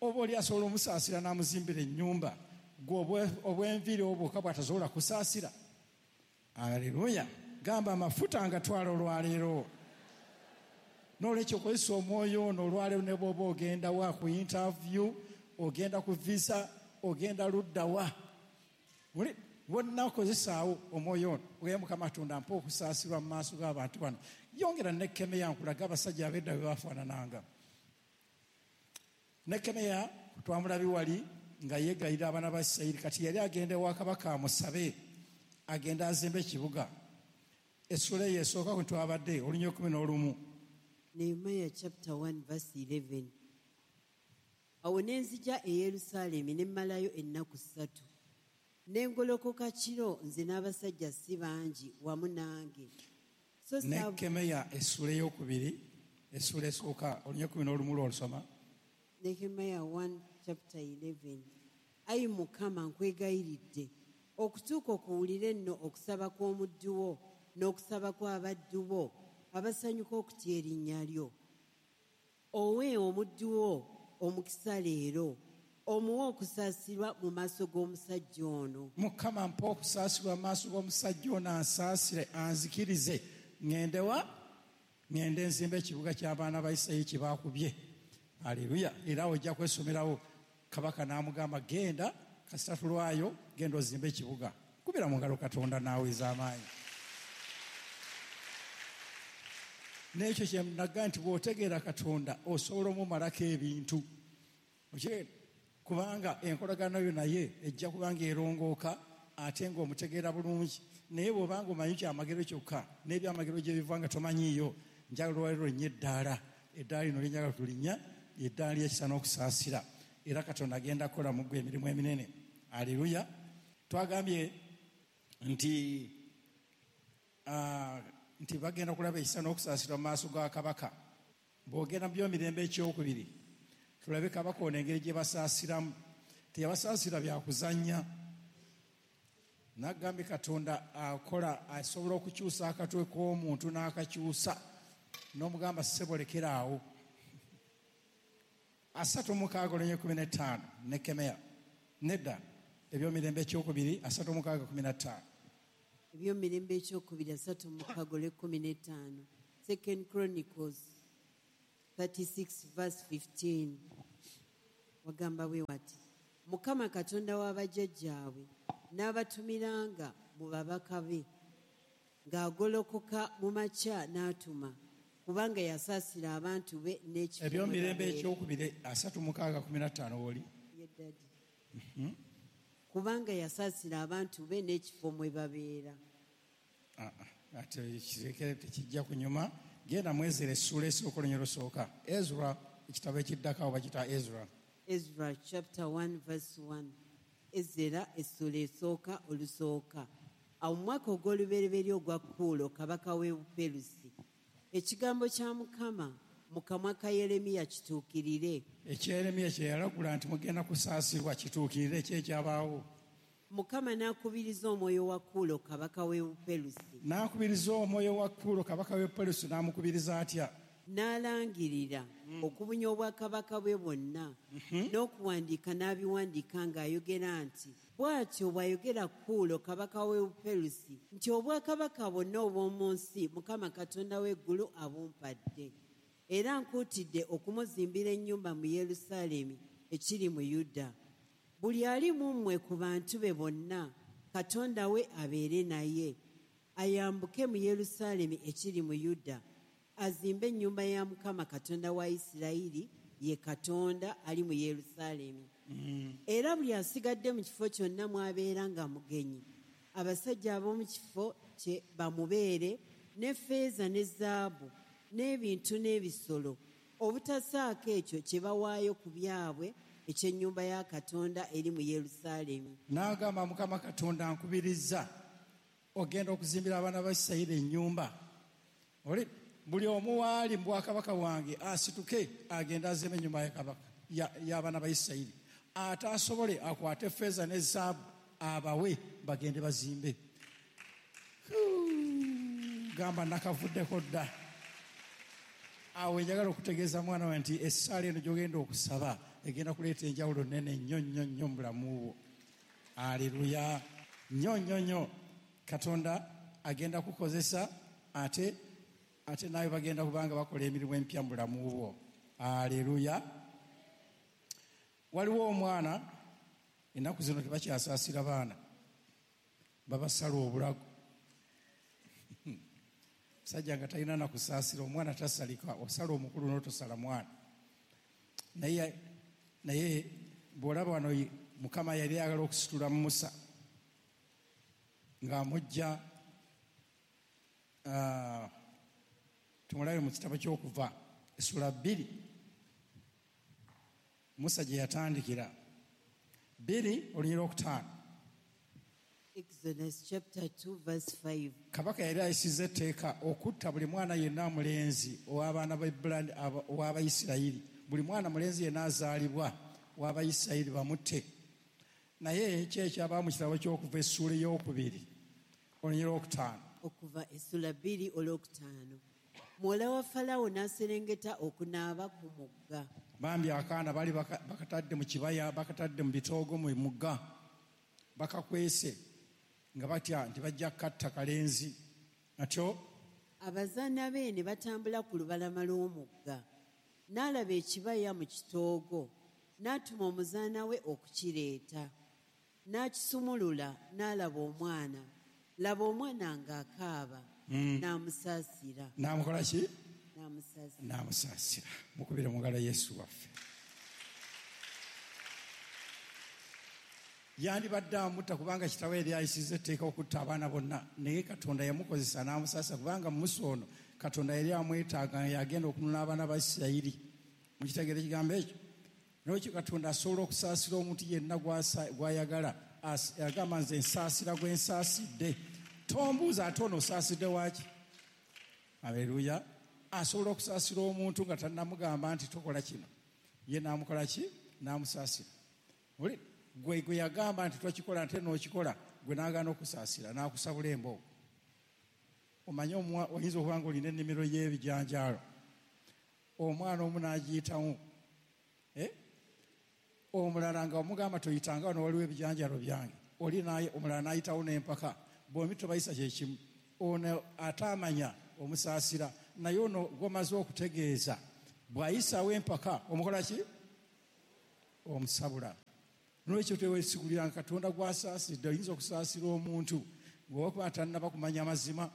Oba oli asobola omusaasira n'amuzimbira ennyumba, gwe obw'enviiri obwo bw'atasobola kusaasira. Aleluya. Gamba amafuta ngatwala olwaleero. N'olwekyo okozesa omwoyo ono olwaleero ne bw'oba ogenda wa ku interview, ogenda ku visa, ogenda ludda wa, wonna okozesaawo omwoyo ono. Oye Mukama Katonda mpa okusaasirwa mu maaso g'abantu bano. Yongera Nekemiya nkulaga abasajja ab'edda bwe bafaanananga. Nekemiya twamulabi wali nga yeegayirira abaana ba Isirayiri. Kati yali agenda ewa kabaka amusabe agenda azimbe ekibuga. Essula eyo esooka kwe twabadde olunya ekkumi n'olumu. Nehemiah chapter one verse eleven. Awo ne nzija e Yerusaalemi ne mmalayo ennaku ssatu. Ne ngolokoka kiro nze n'abasajja si bangi wamu nange. So Nekemiya essula ey'okubiri, essula esooka olunya ekkumi n'olumu lw'olusoma. Nehemiah one chapter eleven. Ayi Mukama nkwegayiridde okutuuka okuwulira nno okusaba kw'omuddu wo n'okusaba kw'abaddu bo abasanyuka okutya erinnya lyo. Owe omuddu wo omukisa leero, omuwe okusaasirwa mu maaso g'omusajja ono. Mukama mpa okusaasirwa mu maaso g'omusajja ono, ansaasire, anzikirize ŋŋende wa? Ŋŋende nzimbe ekibuga ky'abaana ba Isirayiri kye baakubye. Aleluya. Era ojja kwesomerawo kabaka n'amugamba genda kasita tulwayo, genda ozimbe ekibuga. Kubira mu ngalo Katonda naawe ez'amaanyi. N'ekyo kye naga nti bw'otegeera Katonda osobola omumalako ebintu. Kubanga enkolagano yo naye ejja kubanga erongooka ate ng'omutegeera bulungi. Naye bw'obanga omanyi kyamagero kyokka n'ebyamagero gye biva nga tomanyiiyo, njagala olwaleero linnya eddaala. Eddaala lino lye njagala tulinnya, eddaala ly'ekisa n'okusaasira. Era Katonda agenda kukola mu ggwe emirimu eminene. Aleluya. Twagambye nti uh, nti bagenda kulaba ekisa n'okusaasirwa mu maaso ga kabaka. Bw'ogenda mu by'emirembe ekyokubiri, tulabe kabaka ono engeri gye basaasiramu. Teyabasaasira bya kuzannya. Nagambye Katonda akola, asobola okukyusa akatwe k'omuntu n'akakyusa n'omugamba ssebo lekera awo. Asatu mukaaga olunya kumi n'ettaano Nekemiya. Nedda, ebyomirembe ekyokubiri asatu mukaaga kumi na ttaano. Ebyomirembe ekyokubiri asatu mukaaga olw'ekkumi n'ettaano. Second Chronicles thirty-six verse fifteen. Wagamba bwe wati, Mukama Katonda w'abajjajjaabwe n'abatumiranga mu babaka be, ng'agolokoka mu makya n'atuma, kubanga yasaasira abantu be n'ekifo. Ebyomirembe ekyokubiri asatu mukaaga kumi na ttaano w'oli. Ye daddy. Kubanga yasaasira abantu be n'ekifo mwe babeera. Ah, ah, ate kirekere tekijja kunyuma. Genda mu Ezra essuula esooka olunyiriri olusooka. Ezra ekitabo ekiddako awo bakiyita Ezra. Ezra chapter one verse one. Ezra essuula esooka olusooka. Awo mu mwaka ogw'olubereberye ogwa Kuulo kabaka w'e Buperusi, ekigambo kya Mukama mu kamwa ka Yeremiya kituukirire. Ekya Yeremiya kye yalagula nti mugenda kusaasirwa kituukirire, ki ekyabaawo? Mukama n'akubiriza omwoyo wa Kuulo kabaka w'e Buperusi. N'akubiriza omwoyo wa Kuulo kabaka w'e Buperusi, n'amukubiriza atya? N'alangirira okubunya obwakabaka bwe bwonna, n'okuwandiika n'abiwandiika ng'ayogera nti, bw'atyo bw'ayogera Kuulo kabaka w'e Buperusi nti obwakabaka bwonna obw'omu nsi Mukama Katonda w'eggulu abumpadde. Era nkuutidde okumuzimbira ennyumba mu Yerusaalemi ekiri mu Yuda. Buli ali mu mmwe ku bantu be bonna, Katonda we abeere naye, ayambuke mu Yerusaalemi ekiri mu Yuda, azimbe ennyumba ya Mukama Katonda wa Isirayiri, ye Katonda ali mu Yerusaalemi. Era buli asigadde mu kifo kyonna mw'abeera nga mugenyi, abasajja ab'omu kifo kye bamubeere ne ffeeza ne zaabu n'ebintu n'ebisolo, obutasaako ekyo kye bawaayo ku byabwe eky'ennyumba ya Katonda eri mu Yerusaalemi. N'agamba Mukama Katonda nkubiriza ogenda okuzimbira abaana ba Isirayiri ennyumba. Oli buli omu waali mu bwakabaka bwange asituke agende azimbe ennyumba ya kabaka y'abaana ba Isirayiri, ate asobole akwate ffeeza ne zaabu abawe bagende bazimbe. Gamba nakavuddeko dda. Awo njagala okutegeeza mwana wange nti essaala eno gy'ogenda okusaba egenda kuleeta enjawulo nnene nnyo nnyo nnyo mu bulamu bwo. Aleluya. Nnyo nnyo nnyo. Katonda agenda kukozesa ate ate naawe bagenda kubanga bakola emirimu empya mu bulamu bwo. Aleluya. Waliwo omwana ennaku zino tebakyasaasira baana, babasala obulago. Musajja nga talina na kusaasira, omwana tasalika, osala omukulu n'otosala mwana. Naye naye bw'olaba wano Mukama yali ayagala okusitula Musa ng'amujja, tumulabe mu kitabo ky'Okuva essula bbiri Musa gye yatandikira, bbiri olunyiriri olwokutaano. Exodus chapter two verse five. Kabaka yali ayisizza etteeka okutta buli mwana yenna mulenzi ow'abaana ba Ibrani, ow'Abayisirayiri. Buli mwana mulenzi yenna azaalibwa ow'Abayisirayiri bamutte. Naye ki ekyabaawo mu kitabo ky'Okuva essuula ey'okubiri olunyiriri olwokutaano? Okuva essula bbiri olwokutaano. Muwala wa Falaawo n'aserengeta okunaaba ku mugga. Bambi akaana bali bakatadde mu kibaya, bakatadde mu bitoogo mu mugga, bakakwese nga batya nti bajja kukatta kalenzi. Atyo abazaana be ne batambula ku lubalama lw'omugga. N'alaba ekibaya mu kitoogo, n'atuma omuzaana we okukireeta. N'akisumulula n'alaba omwana. Laba omwana ng'akaaba, n'amusaasira. N'amukola ki? N'amusaasira. N'amusaasira. Mukubire mu ngalo Yesu waffe. Yandibadde amutta kubanga kitaawe yali ayisizza etteeka okutta abaana bonna, naye Katonda yamukozesa n'amusaasira kubanga Musa ono Katonda yali amwetaaga, yagenda okununula abaana ba Isirayiri. Mukitegeera ekigambo ekyo? N'olwekyo Katonda asobola okusaasira omuntu yenna gw'ayagala. Agamba nze nsaasira gwe nsaasidde. Tombuuza ate ono osaasidde waaki? Aleluya. Asobola okusaasira omuntu nga tannamugamba nti tokola kino, ye n'amukola ki? N'amusaasira. Oli gwe gwe yagamba nti tokikola ate n'okikola, gwe n'agaana okusaasira n'akusabula embogo. Omanye oyinza okuba nga olina ennimiro y'ebijanjaalo, omwana omu n'agiyitamu, omulala nga omugamba toyitanga wano waliwo ebijanjaalo byange, oli naye omulala n'ayitawo n'empaka, bombi tobayisa kye kimu. Ono ate amanya omusaasira, naye ono gw'omaze okutegeeza Bw'ayisaawo empaka omukola ki? Omusabula. Nolwekyo teweesigulira Katonda gw'asaasidde. Oyinza okusaasira omuntu bw'okuba tannaba kumanya amazima,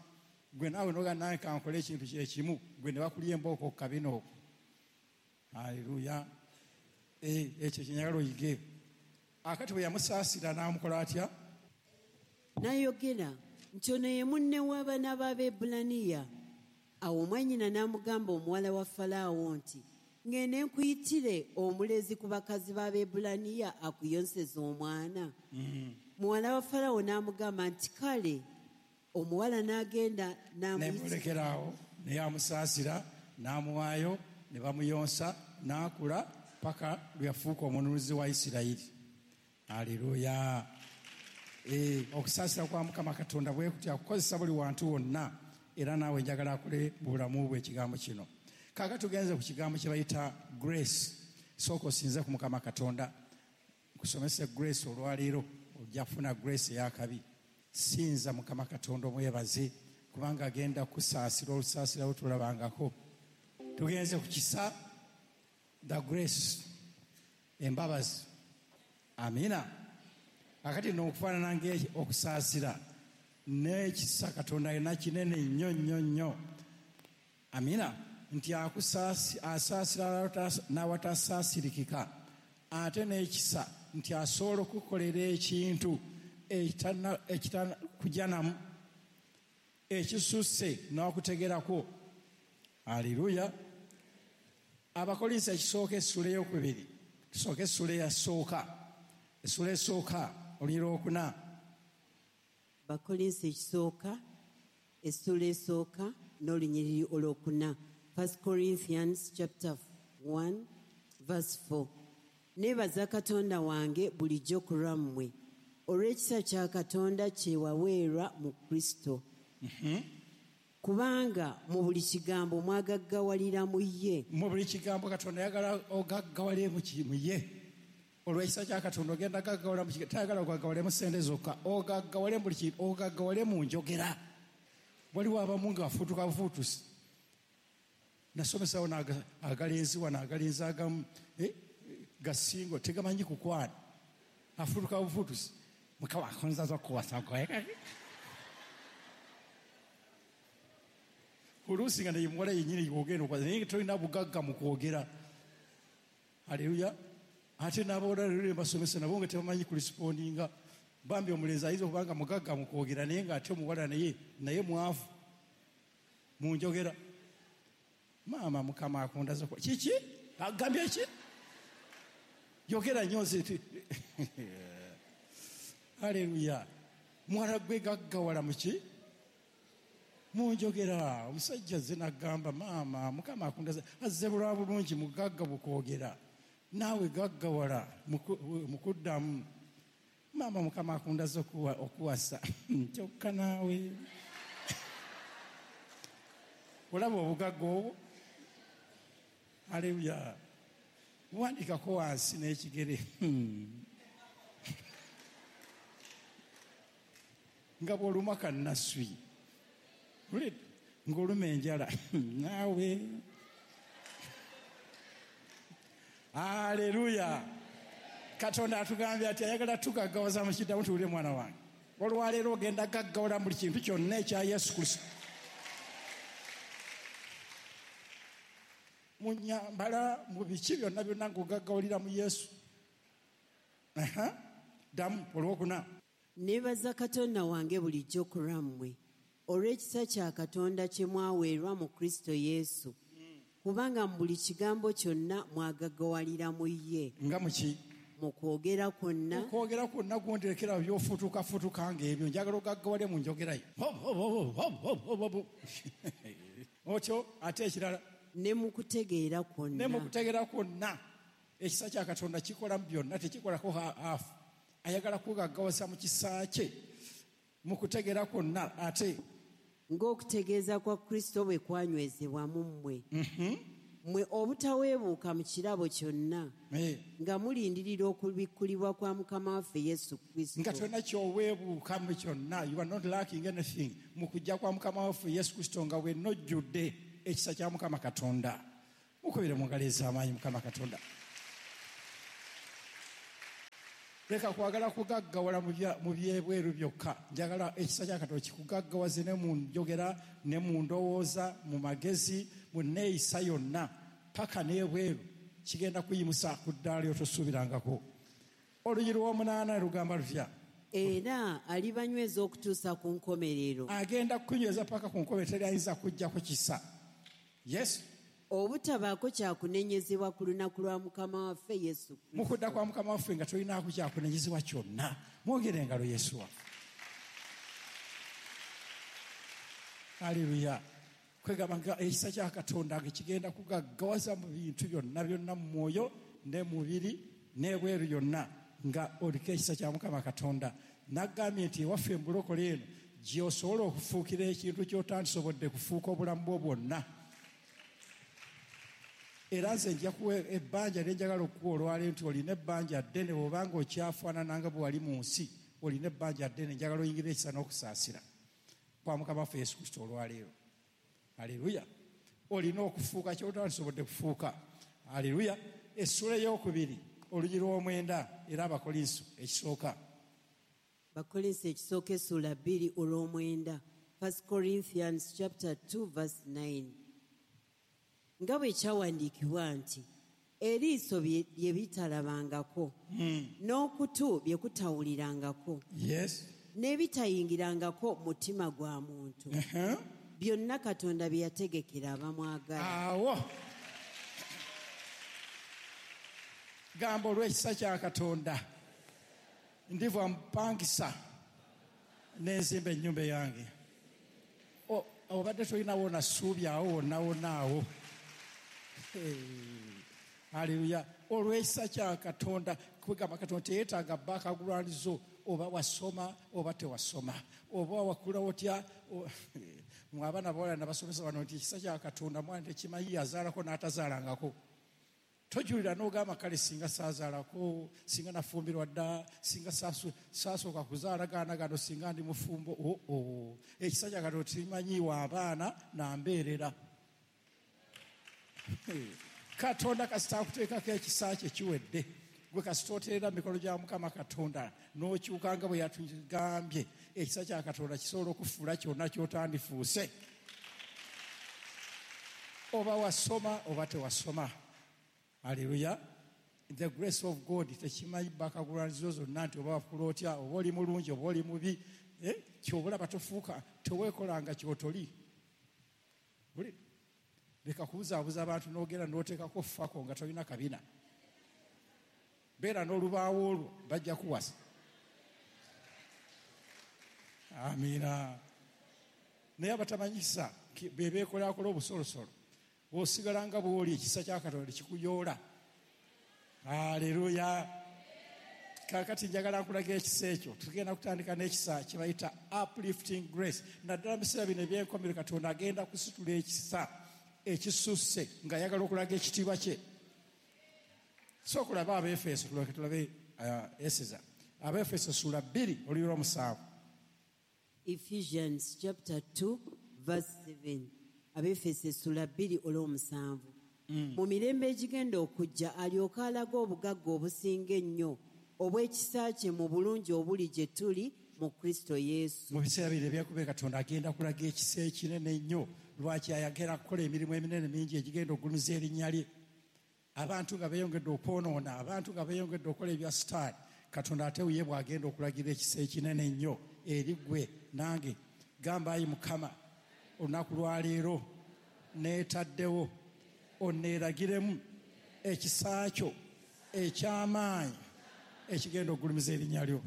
gwe naawe noga nange kankole ekintu kyekimu, gwe ne bakulya embooko ku kabina okwo. Haleluya. Ekyo kye oyige. Akati bwe yamusaasira n'amukola atya? N'ayogera nti ono ye munne w'abaana b'Abaebbulaniya. Awo mwannyina n'amugamba omuwala wa Falaawo nti ŋŋende nkuyitire omulezi ku bakazi b'Abaebbulaniya akuyonseze omwana. Muwala wa Falaawo n'amugamba nti kale. Omuwala n'agenda n'amulekeraawo, naye amusaasira n'amuwaayo ne bamuyonsa n'akula paka lwe yafuuka omununuzi wa Isirayiri. Haleluya. Eh, okusaasira kwa Mukama Katonda bwe kutya kukozesa buli wantu wonna, era naawe njagala akole mu bulamu bwe ekigambo kino. Kaakati tugenze ku kigambo kye bayita grace. Sooka osinze ku Mukama Katonda. Nkusomese grace olwaleero, ojja kufuna grace ey'akabi. Sinza Mukama Katonda omwebaze kubanga agenda kusaasira olusaasira lwe tulabangako. Tugenze ku kisa, the grace, embabazi. Amina. Akati n'okufaanana ng'okusaasira n'ekisa Katonda alina kinene nnyo nnyo nnyo. Amina. Nti asaasira n'awatasaasirikika, ate n'ekisa nti asobola okukolera ekintu ekitanakujjanamu ekisusse n'okutegerako. Haleluya. Abakolinso ekisooka essula ey'okubiri, tusooke essula eyasooka, essula esooka olunyiriri olwokuna. Abakolinso ekisooka essula esooka n'olunyiriri olwokuna. First Corinthians chapter one verse four. Neebaza Katonda wange bulijjo ku lwammwe olw'ekisa kya Katonda kye waweerwa mu Kristo. Kubanga mu buli kigambo mwagaggawalira mu ye. Mu buli kigambo Katonda ayagala ogaggawale mu ye. Olw'ekisa kya Katonda ogenda gaggawala mu kigambo, tayagala ogaggawale mu ssente zokka, ogaggawale mu buli kintu, ogaggawale mu njogera. Waliwo abamu nga bafuutuka bufuutusi. Nasomesawo agalenzi wano, agalenzi agamu gasingo tegamanyi kukwana, afuutuka bufuutusi. Mukama akonza okuwasa. Oluusi nga naye muwala yennyini ogenda okwasa, naye tolina bugagga mu kwogera. Haleluya. Ate n'abawala leero basomesa nabo nga tebamanyi kulisipondinga. Bambi omulenzi ayinza okuba nga mugagga mu kwogera, naye ng'ate omuwala naye naye mwavu mu njogera. Maama Mukama akundaza kiki? Agambye ki? Yogera nnyo nze. Haleluya. Muwala gwe gaggawala mu ki? Mu njogera. Omusajja nze n'agamba maama Mukama akundaza azze bulwa bulungi mugagga bukwogera, naawe gaggawala mu kuddamu. Maama Mukama akundaza okuwasa kyokka naawe olaba obugagga obwo. Haleluya. Wandikako wansi n'ekigere nga bw'oluma kannaswi, ng'oluma enjala naawe. Haleluya. Katonda atugambye ati ayagala tugaggawaza mu kiddamu. Tuwulire mwana wange, olwaleero ogenda gaggawala buli kintu kyonna ekya Yesu Kristo. Mu nnyambala, mu biki byonna byonna ng'ogaggawalira mu Yesu. Ddamu olwokuna. Neebaza Katonda wange bulijjo ku lwammwe olw'ekisa kya Katonda kye mwaweerwa mu Kristo Yesu, kubanga mu buli kigambo kyonna mwagaggawalira mu ye. Nga muki? Mu kwogera kwonna. Mu kwogera kwonna gwonderekera by'ofutukafutuka ng'ebyo, njagala ogaggawale mu njogerayo. Otyo ate ekirala, ne mu kutegeera kwonna. Ne mu kutegeera kwonna. Ekisa kya Katonda kikola mu byonna, tekikolako haafu. Ayagala kugaggawaza mu kisa kye mu kutegeera kwonna. Ate ng'okutegeeza kwa Kristo bwe kwanywezebwa mu mmwe, mmwe obutaweebuuka mu kirabo kyonna, nga mulindirira okubikkulibwa kwa Mukama waffe Yesu Kristo. Nga tolina ky'oweebuuka mu kyonna, you are not lacking anything mu kujja kwa Mukama waffe Yesu Kristo, nga wenojjudde ekisa kya Mukama Katonda. Mukubire mu ngalo ez'amaanyi Mukama Katonda. Leka kwagala kugaggawala mu byebweru byokka. Njagala ekisa kya Katonda kikugaggawaze ne mu njogera ne mu ndowooza, mu magezi, mu nneeyisa yonna, paka n'ebweru. Kigenda kuyimusa ku ddaala lyotosuubirangako. Oluyi lw'omunaana lugamba lutya? Era alibanyweza okutuusa ku nkomerero. Agenda kukunyweza paka ku nkomerero, teri ayinza kujjako kisa. Yes. Obutabaako kyakunenyezebwa ku lunaku lwa Mukama waffe Yesu Kristo. Mu kudda kwa Mukama waffe nga tolinaako kyakunenyezebwa kyonna. Mwongere engalo Yesu waffe. Haleluya. Kwegamba nga ekisa kya Katonda nga kigenda kugaggawaza mu bintu byonna byonna mu mwoyo ne mubiri n'ebweru yonna nga oliko ekisa kya Mukama Katonda. Nagambye nti ewaffe embulokole eno gy'osobola okufuukira ekintu ky'otandisobodde kufuuka obulamu bwo bwonna. Era nze nja kuwa ebbanja lye njagala okukuwa olwaleero nti olina ebbanja ddene bw'obanga okyafaanana nga bwe wali mu nsi, olina ebbanja ddene, njagala oyingire ekisa n'okusaasira kwa Mukama waffe Yesu Kristo olwaleero. Haleluya. Olina okufuuka ky'otandisobodde kufuuka. Haleluya. Essula ey'okubiri olugi lw'omwenda era Abakolinso ekisooka. Abakolinso ekisooka essula bbiri olw'omwenda. First Corinthians chapter two verse nine. Nga bwe kyawandiikibwa nti eriiso bye bitalabangako, n'okutu bye kutawulirangako, yes, n'ebitayingirangako mutima gwa muntu, byonna Katonda bye yategekera abamwagala. Awo gamba olw'ekisa kya Katonda ndiva mpangisa n'enzimba ennyumba yange. Obadde tolinawo na ssuubi awo wonna wonna awo. Haleluya. Olw'ekisa kya Katonda, kwegamba Katonda teyeetaaga background oba wasoma oba tewasoma, oba wakula otya. Mwe abaana bawala nabasomesa bano nti ekisa kya Katonda mwana tekimanyi yazaalako n'atazaalangako. Tojulira n'ogamba kale singa saazaalako, singa nafumbirwa dda, singa saasooka kuzaala gaana gano, singa ndi mufumbo. Oo, ekisa kya Katonda tekimanyiwa abaana nambeerera. Katonda kasita akuteekako ekisa kye kiwedde. Gwe kasita oteerera mu mikono gya Mukama Katonda n'okyuka nga bwe yatugambye, ekisa kya Katonda kisobola okufuula kyonna ky'otandifuuse. Oba wasoma oba tewasoma. Haleluya. The grace of God tekimanyi background zonna nti oba wakula otya, oba oli mulungi oba oli mubi. Ky'obulaba tofuuka, teweekolanga ky'otoli. Leka kubuzaabuza abantu n'ogenda n'oteekako fako nga tolina kabina. Beera n'olubaawo olwo bajja kuwasa. Amiina. Naye abatamanyisa be beekolakola obusolosolo, bw'osigala nga bw'oli ekisa kya Katonda kikuyoola. Haleluya. Kaakati njagala nkulaga ekisa ekyo. Tugenda kutandika n'ekisa kye bayita uplifting grace. Naddala mu biseera bino eby'enkomerero Katonda agenda kusitula ekisa ekisusse ng'ayagala okulaga ekitiibwa kye. Sooka olabe Abaefeso, tulyoke tulabe Eseza. Abaefeso ssuula bbiri oluyi lw'omusanvu. Ephesians chapter two verse seven. Abaefeso essula bbiri olw'omusanvu. Mu mirembe egigenda okujja alyoke alaga obugagga obusinga ennyo obw'ekisa kye mu bulungi obuli gye tuli mu Kristo Yesu. Mu biseera bino eby'enkomerero Katonda agenda kulaga ekisa ekinene ennyo. Lwaki ayagala kukola emirimu eminene mingi egigenda okugulumiza erinnya lye. Abantu nga beeyongedde okwonoona, abantu nga beeyongedde okukola ebya sitaani, Katonda ate ye bw'agenda okulagira ekisa ekinene ennyo eri ggwe nange. Gamba ayi Mukama, olunaku lwaleero neetaddewo onneeragiremu ekisa kyo eky'amaanyi ekigenda okugulumiza erinnya lyo.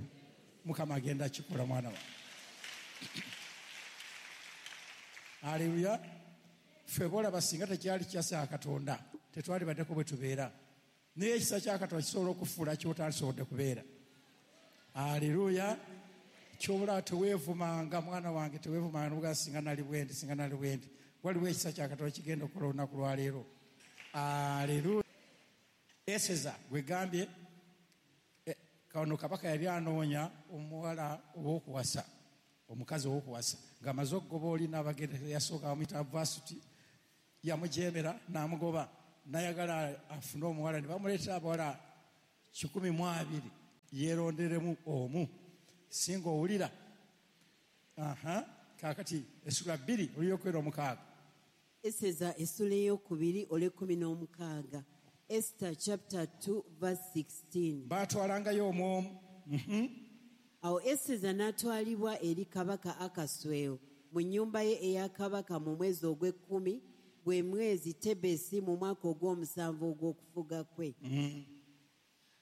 Mukama agenda kikola mwana wa. Haleluya. Ffe bolaba singa tekyali kisa kya Katonda tetwalibaddeko bwe tubeera, naye ekisa kya Katonda kisobola okufuula ky'otandisobodde kubeera. Haleluya. Ky'obulaba teweevumanga mwana wange, teweevumanga n'ogamba singa nali bwendi, singa nali bwendi. Waliwo ekisa kya Katonda kigenda okukola olunaku lwaleero. Haleluya. Eseza gwe gambye kano kabaka yali anoonya omuwala ow'okuwasa, omukazi ow'okuwasa, ng'amaze okugoba oli n'abagenda yasooka bamuyita Vasuti, yamujeemera n'amugoba. N'ayagala afune omuwala, ne bamuleetera abawala kikumi mu abiri yeeronderemu omu. Singa owulira. Aha, kaakati essula bbiri olw'okwera omukaaga. Eseza essula ey'okubiri olw'ekkumi n'omukaaga. Esther chapter two verse sixteen. Baatwalangayo omu omu. Mhm. Awo Eseza n'atwalibwa eri kabaka Akaswero mu nnyumba ye eya kabaka mu mwezi ogw'ekkumi, gwe mwezi Tebesi, mu mwaka ogw'omusanvu ogw'okufuga kwe. Mm.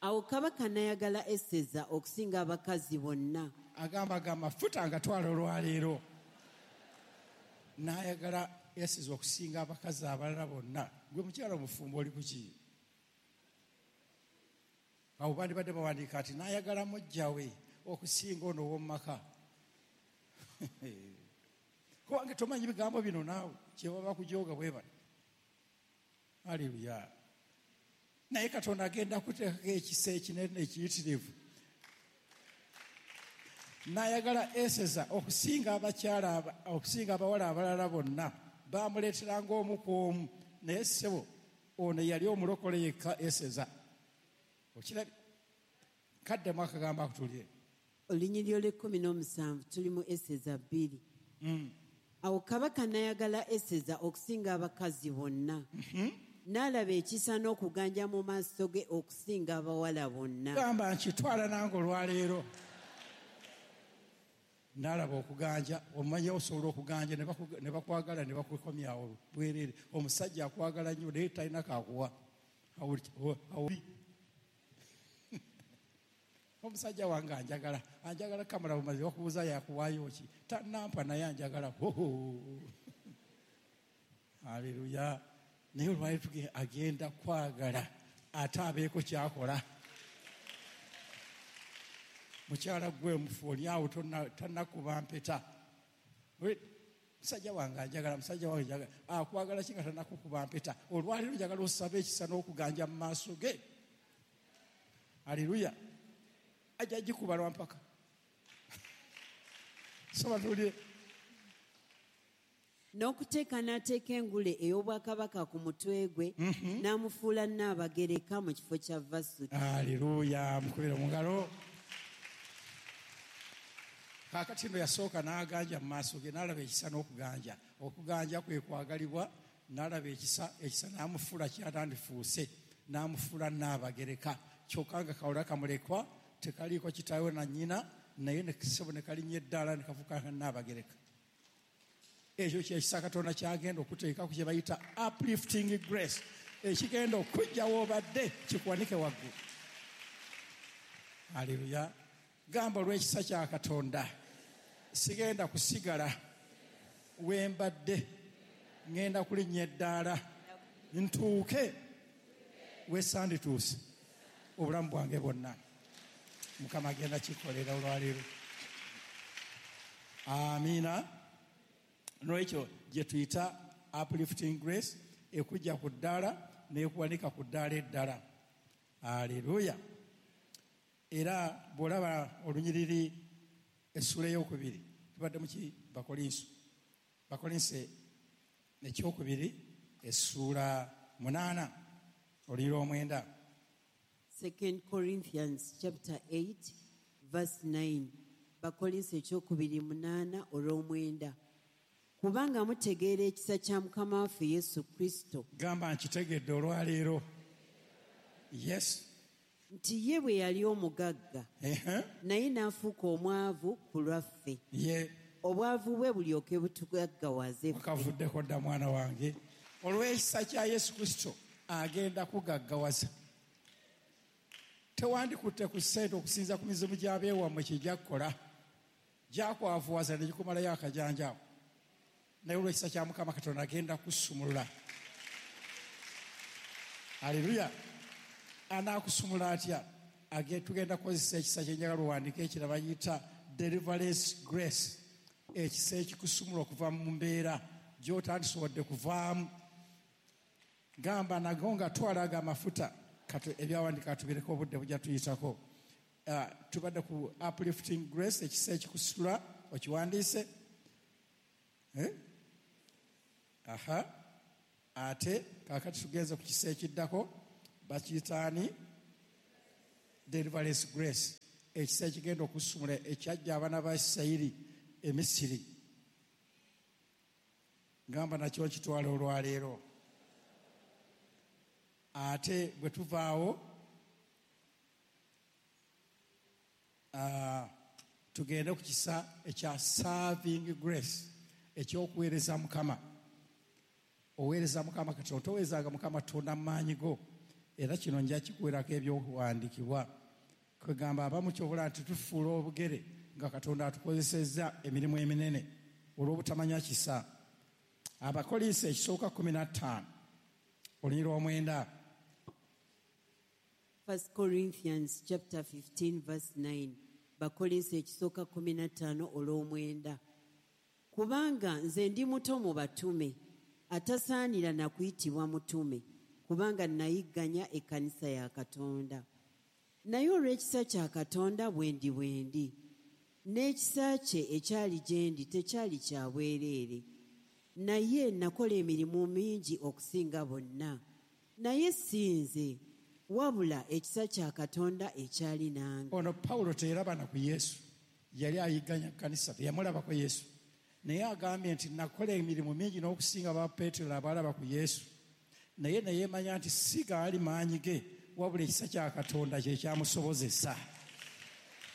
Awo kabaka n'ayagala Eseza okusinga abakazi bonna. Agamba aga amafuta agatwala olwaleero. N'ayagala Eseza okusinga abakazi abalala bonna. Gwe mukyala omufumbo oli ku ki? Awo bandibadde bawandiika nti n'ayagala muggya we okusinga ono ow'omu maka. Kubanga tomanyi bigambo bino naawe, kye baba bakujooga bwe bati. Haleluya. Naye Katonda agenda kuteekako ekisa ekinene ekiyitirivu. N'ayagala Eseza okusinga abakyala aba-, okusinga abawala abalala bonna. Baamuleeteranga omu ku omu. Naye ssebo, ono yali omulokole yekka Eseza. Okirabye? Kaddemu akagambo ako tulye. Olunyiriri olw'ekkumi n'omusanvu tuli mu Eseza bbiri. Mm. Awo kabaka n'ayagala Eseza okusinga abakazi bonna. Mm-hmm. N'alaba ekisa n'okuganja mu maaso ge okusinga abawala bonna. Gamba nkitwala nange olwaleero. N'alaba okuganja, omanye osobola okuganja ne baku-, ne bakwagala ne bakukomyawo bwereere. Omusajja akwagala nnyo naye talina kakuwa. Awo, awo, omusajja wange anjagala, anjagala kamala bumaze bakubuuza yakuwaayo ki? Tannampa naye anjagala. Hoho. Haleluya. Naye olwaleero tuge-, agenda kwagala ate abeeko ky'akola. Mukyala gwe mufu oli awo tonna-, tannakuba mpeta. We, musajja wange anjagala, musajja wange anjagala. Akwagala ki nga tannakukuba mpeta? Olwaleero njagala osabe ekisa n'okuganja mu maaso ge. Haleluya. Ajja gikuba lwa mpaka. Soma tuwulire. N'okuteeka n'ateeka engule ey'obwakabaka ku mutwe gwe, Mm-hmm. n'amufuula Nnaabagereka mu kifo kya Vasuti. Haleluya, mukubire mu ngalo. Kaakati nno yasooka n'aganja mu maaso ge, n'alaba ekisa n'okuganja. Okuganja kwe kwagalibwa, n'alaba ekisa, ekisa n'amufuula kyatandifuuse, n'amufuula Nnaabagereka. Kyokka nga kawula kamulekwa, tekaliiko kitaawe na nnyina, naye ne ssebo ne kalinnya eddaala ne kafuuka Nnaabagereka. Ekyo kye kisa Katonda ky'agenda okuteekako kye bayita uplifting grace, ekigenda okujja w'obadde kikuwanike waggulu. Haleluya. Gamba olw'ekisa kya Katonda, sigenda kusigala we mbadde, ŋŋenda kulinnya eddaala ntuuke we sandituuse obulamu bwange bwonna. Mukama agenda kikolera olwaleero. Amiina. N'olwekyo gye tuyita uplifting grace, ekujja ku ddaala n'ekuwanika ku ddaala eddala. Haleluya. Era bw'olaba olunyiriri essuula ey'okubiri, tubadde mu ki? Bakolinso. Bakolinso ekyokubiri essuula munaana olunyiriri omwenda. Second Corinthians chapter eight verse nine. Bakolinso ekyokubiri munaana olw'omwenda. Kubanga mutegeera ekisa kya Mukama waffe Yesu Kristo. Gamba nkitegedde olwaleero. Yes. Nti ye bwe yali omugagga, Ehe. naye n'afuuka omwavu ku lwaffe. Ye. Obwavu bwe bulyoke butugaggawaze ffe. Wakavuddeko dda mwana wange. Olw'ekisa kya Yesu Kristo agenda kugaggawaza. Tewandikutte ku ssente okusinza ku mizimu gy'abeewammwe kye gyakukola. Gyakwavuwaza ne gikumalayo akajanja ako. Naye olw'ekisa kya Mukama Katonda agenda kusumulula. Haleluya. Anaakusumula atya? Age-, tugenda kukozesa ekisa kye njagala owandiike ekirala bayita deliverance grace. Ekisa ekikusumula okuva mu mbeera gy'otandisobodde kuvaamu. Gamba nago nga twalaga amafuta. Kati ebyawandiika tubireke obudde bujja tuyitako. Ah, tubadde ku uplifting grace, ekisa ekikusitula, okiwandiise. Eh? Aha. Ate kaakati tugenze ku kisa ekiddako, bakiyitaani deliverance grace, ekisa ekigenda okusumula ekyajja abaana ba Isirayiri e Misiri. Ngamba nakyo kitwala olwaleero. Ate bwe tuvaawo uh, tugende ku kisa ekya serving grace, ekyokuweereza Mukama. Oweereza Mukama Katonda, toweerezanga Mukama Katonda mu maanyi go. Era kino nja kikuweerako ebyokuwandiikibwa. Kwegamba abamu ky'obola nti tufuula obugere nga Katonda atukozesezza emirimu eminene olw'obutamanya kisa. Abakolinso ekisooka kkumi na ttaano olunyiriri lw'omwenda. First Corinthians chapter fifteen verse nine. Bakolinso ekisooka kkumi na ttaano olw'omwenda. Kubanga nze ndi muto mu batume, atasaanira na kuyitibwa mutume, kubanga nayigganya ekkanisa ya Katonda. Naye olw'ekisa kya Katonda bwe ndi bwe ndi, n'ekisa kye ekyali gye ndi tekyali kya bwereere. Naye nakola emirimu mingi okusinga bonna, naye si nze, wabula ekisa kya Katonda ekyali nange. Ono Pawulo teyalabana ku Yesu, yali ayigganya kkanisa, teyamulabako Yesu. Naye agambye nti nakola emirimu mingi n'okusinga ba Peetero abalaba ku Yesu. Naye neyeemanya nti si gaali maanyi ge, wabula ekisa kya Katonda kye kyamusobozesa.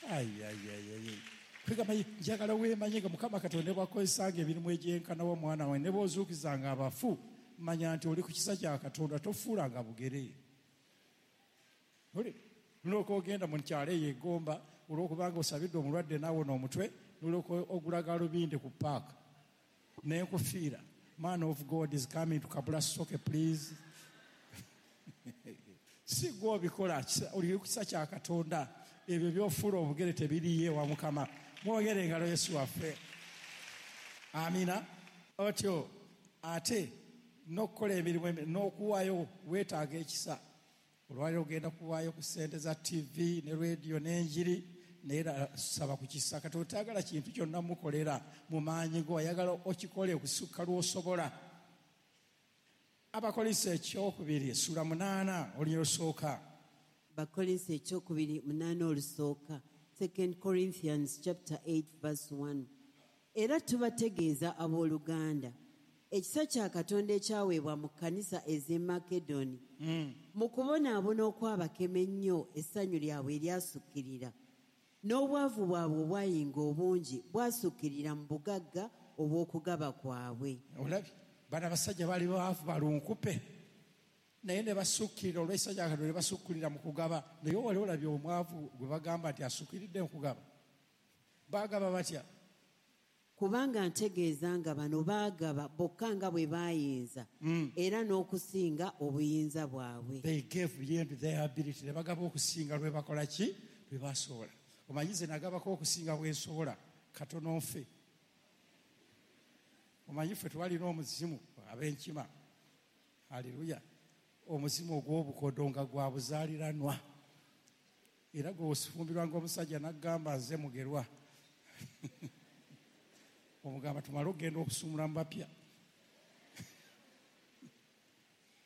Ayi. Kwegamba njagala weemanye nga Mukama Katonda bw'akozesanga emirimu egyenkanawo omwana we, ne bw'ozuukizanga abafu, manya nti oli ku kisa kya Katonda, tofuulanga bugere. Nolwoka ogenda mu kyalo eyo egomba olw'okubanga osabidde omulwadde n'awona omutwe, nolwoka ogula galubindi ku paaka n'enkufiira. Man of God is coming to Kabula Soke, please. Si gwe obikola, oli ku kisa kya Katonda. Ebyo by'ofuula obugere tebiriiyo ewa Mukama. Mwongere engalo Yesu waffe. Amina. Otyo ate n'okukola emirimu n'okuwaayo weetaaga ekisa. Olwaleero ogenda kuwaayo ku ssente za T V ne radio n'enjiri, naye saba ku kisa. Katonda tayagala kintu kyonna mukolera mu maanyi go, ayagala okikole okusukka lw'osobola. Abakolinso ekyokubiri essula munaana olunyiriri olusooka. Bakolinso ekyokubiri munaana olusooka. Second Corinthians chapter eight verse one. Era tubategeeza abooluganda, ekisa kya Katonda ekyaweebwa mu kkanisa ez'e Makedoni, mu kubonaabona okwabakema ennyo essanyu lyabwe eryasukkirira, n'obwavu bwabwe obwayinga obungi bwasukkirira mu bugagga obw'okugaba kwabwe. Olabye bano abasajja baali baavu balunkupe, naye ne basukkirira olw'ekisa kya Katonda, ne basukkulira mu kugaba. Naye wali olabye omwavu gwe bagamba nti asukkiridde mu kugaba? Baagaba batya? Kubanga ntegeeza nga bano baagaba bokka nga bwe baayinza, era n'okusinga obuyinza bwabwe. They gave beyond their ability. Ne bagaba okusinga lwe bakola ki? Lwe basobola. Omanyi nze nagabako okusinga bwe nsobola, katono nfe. Omanyi ffe twalina omuzimu ab'enkima. Haleluya. Omuzimu ogw'obukodo nga gwa buzaaliranwa. Era gwe ofumbirwa ng'omusajja n'agamba nze mugerwa. Omugamba tumale okugenda okusumula mu bapya.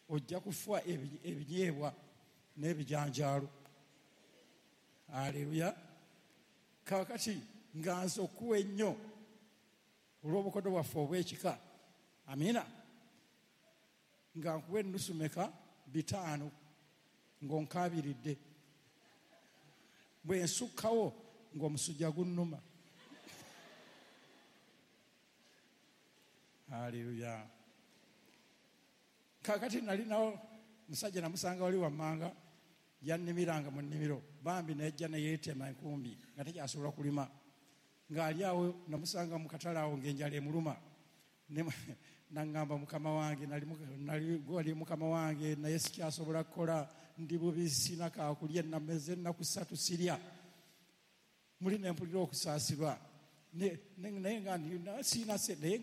Ojja kufa ebinyeebwa n'ebijanjaalo. Haleluya. Kaakati nga nze okuwa ennyo olw'obukodo bwaffe obw'ekika. Amina. Nga nkuwa ennusu meka bitaano ng'onkaabiridde. Bwe nsukkawo ng'omusujja gunnuma. Haleluya. Kaakati nalinawo musajja namusanga wali wammanga, yannimiranga mu nnimiro, bambi nejja ne yeetema enkumbi nga tekyasobola kulima. Ng'ali awo namusanga mu katale awo ng'enjala emuluma. Naŋŋamba mukama wange, nali gwali mukama wange, naye sikyasobola kukola, ndi bubi, sina kaakulya, nameze ennaku ssatu sirya. Muli ne mpulira okusaasirwa. Naye nga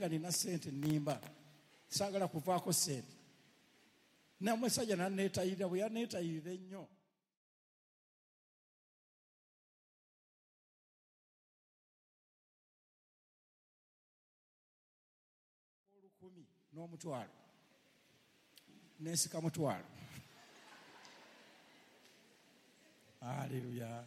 nina ssente nnimba, saagala kuvaako ssente. Namusajja nanneetayirira, bwe yanneetayirira ennyo olukumi n'omutwalo. Nensika mutwalo. Aleluya.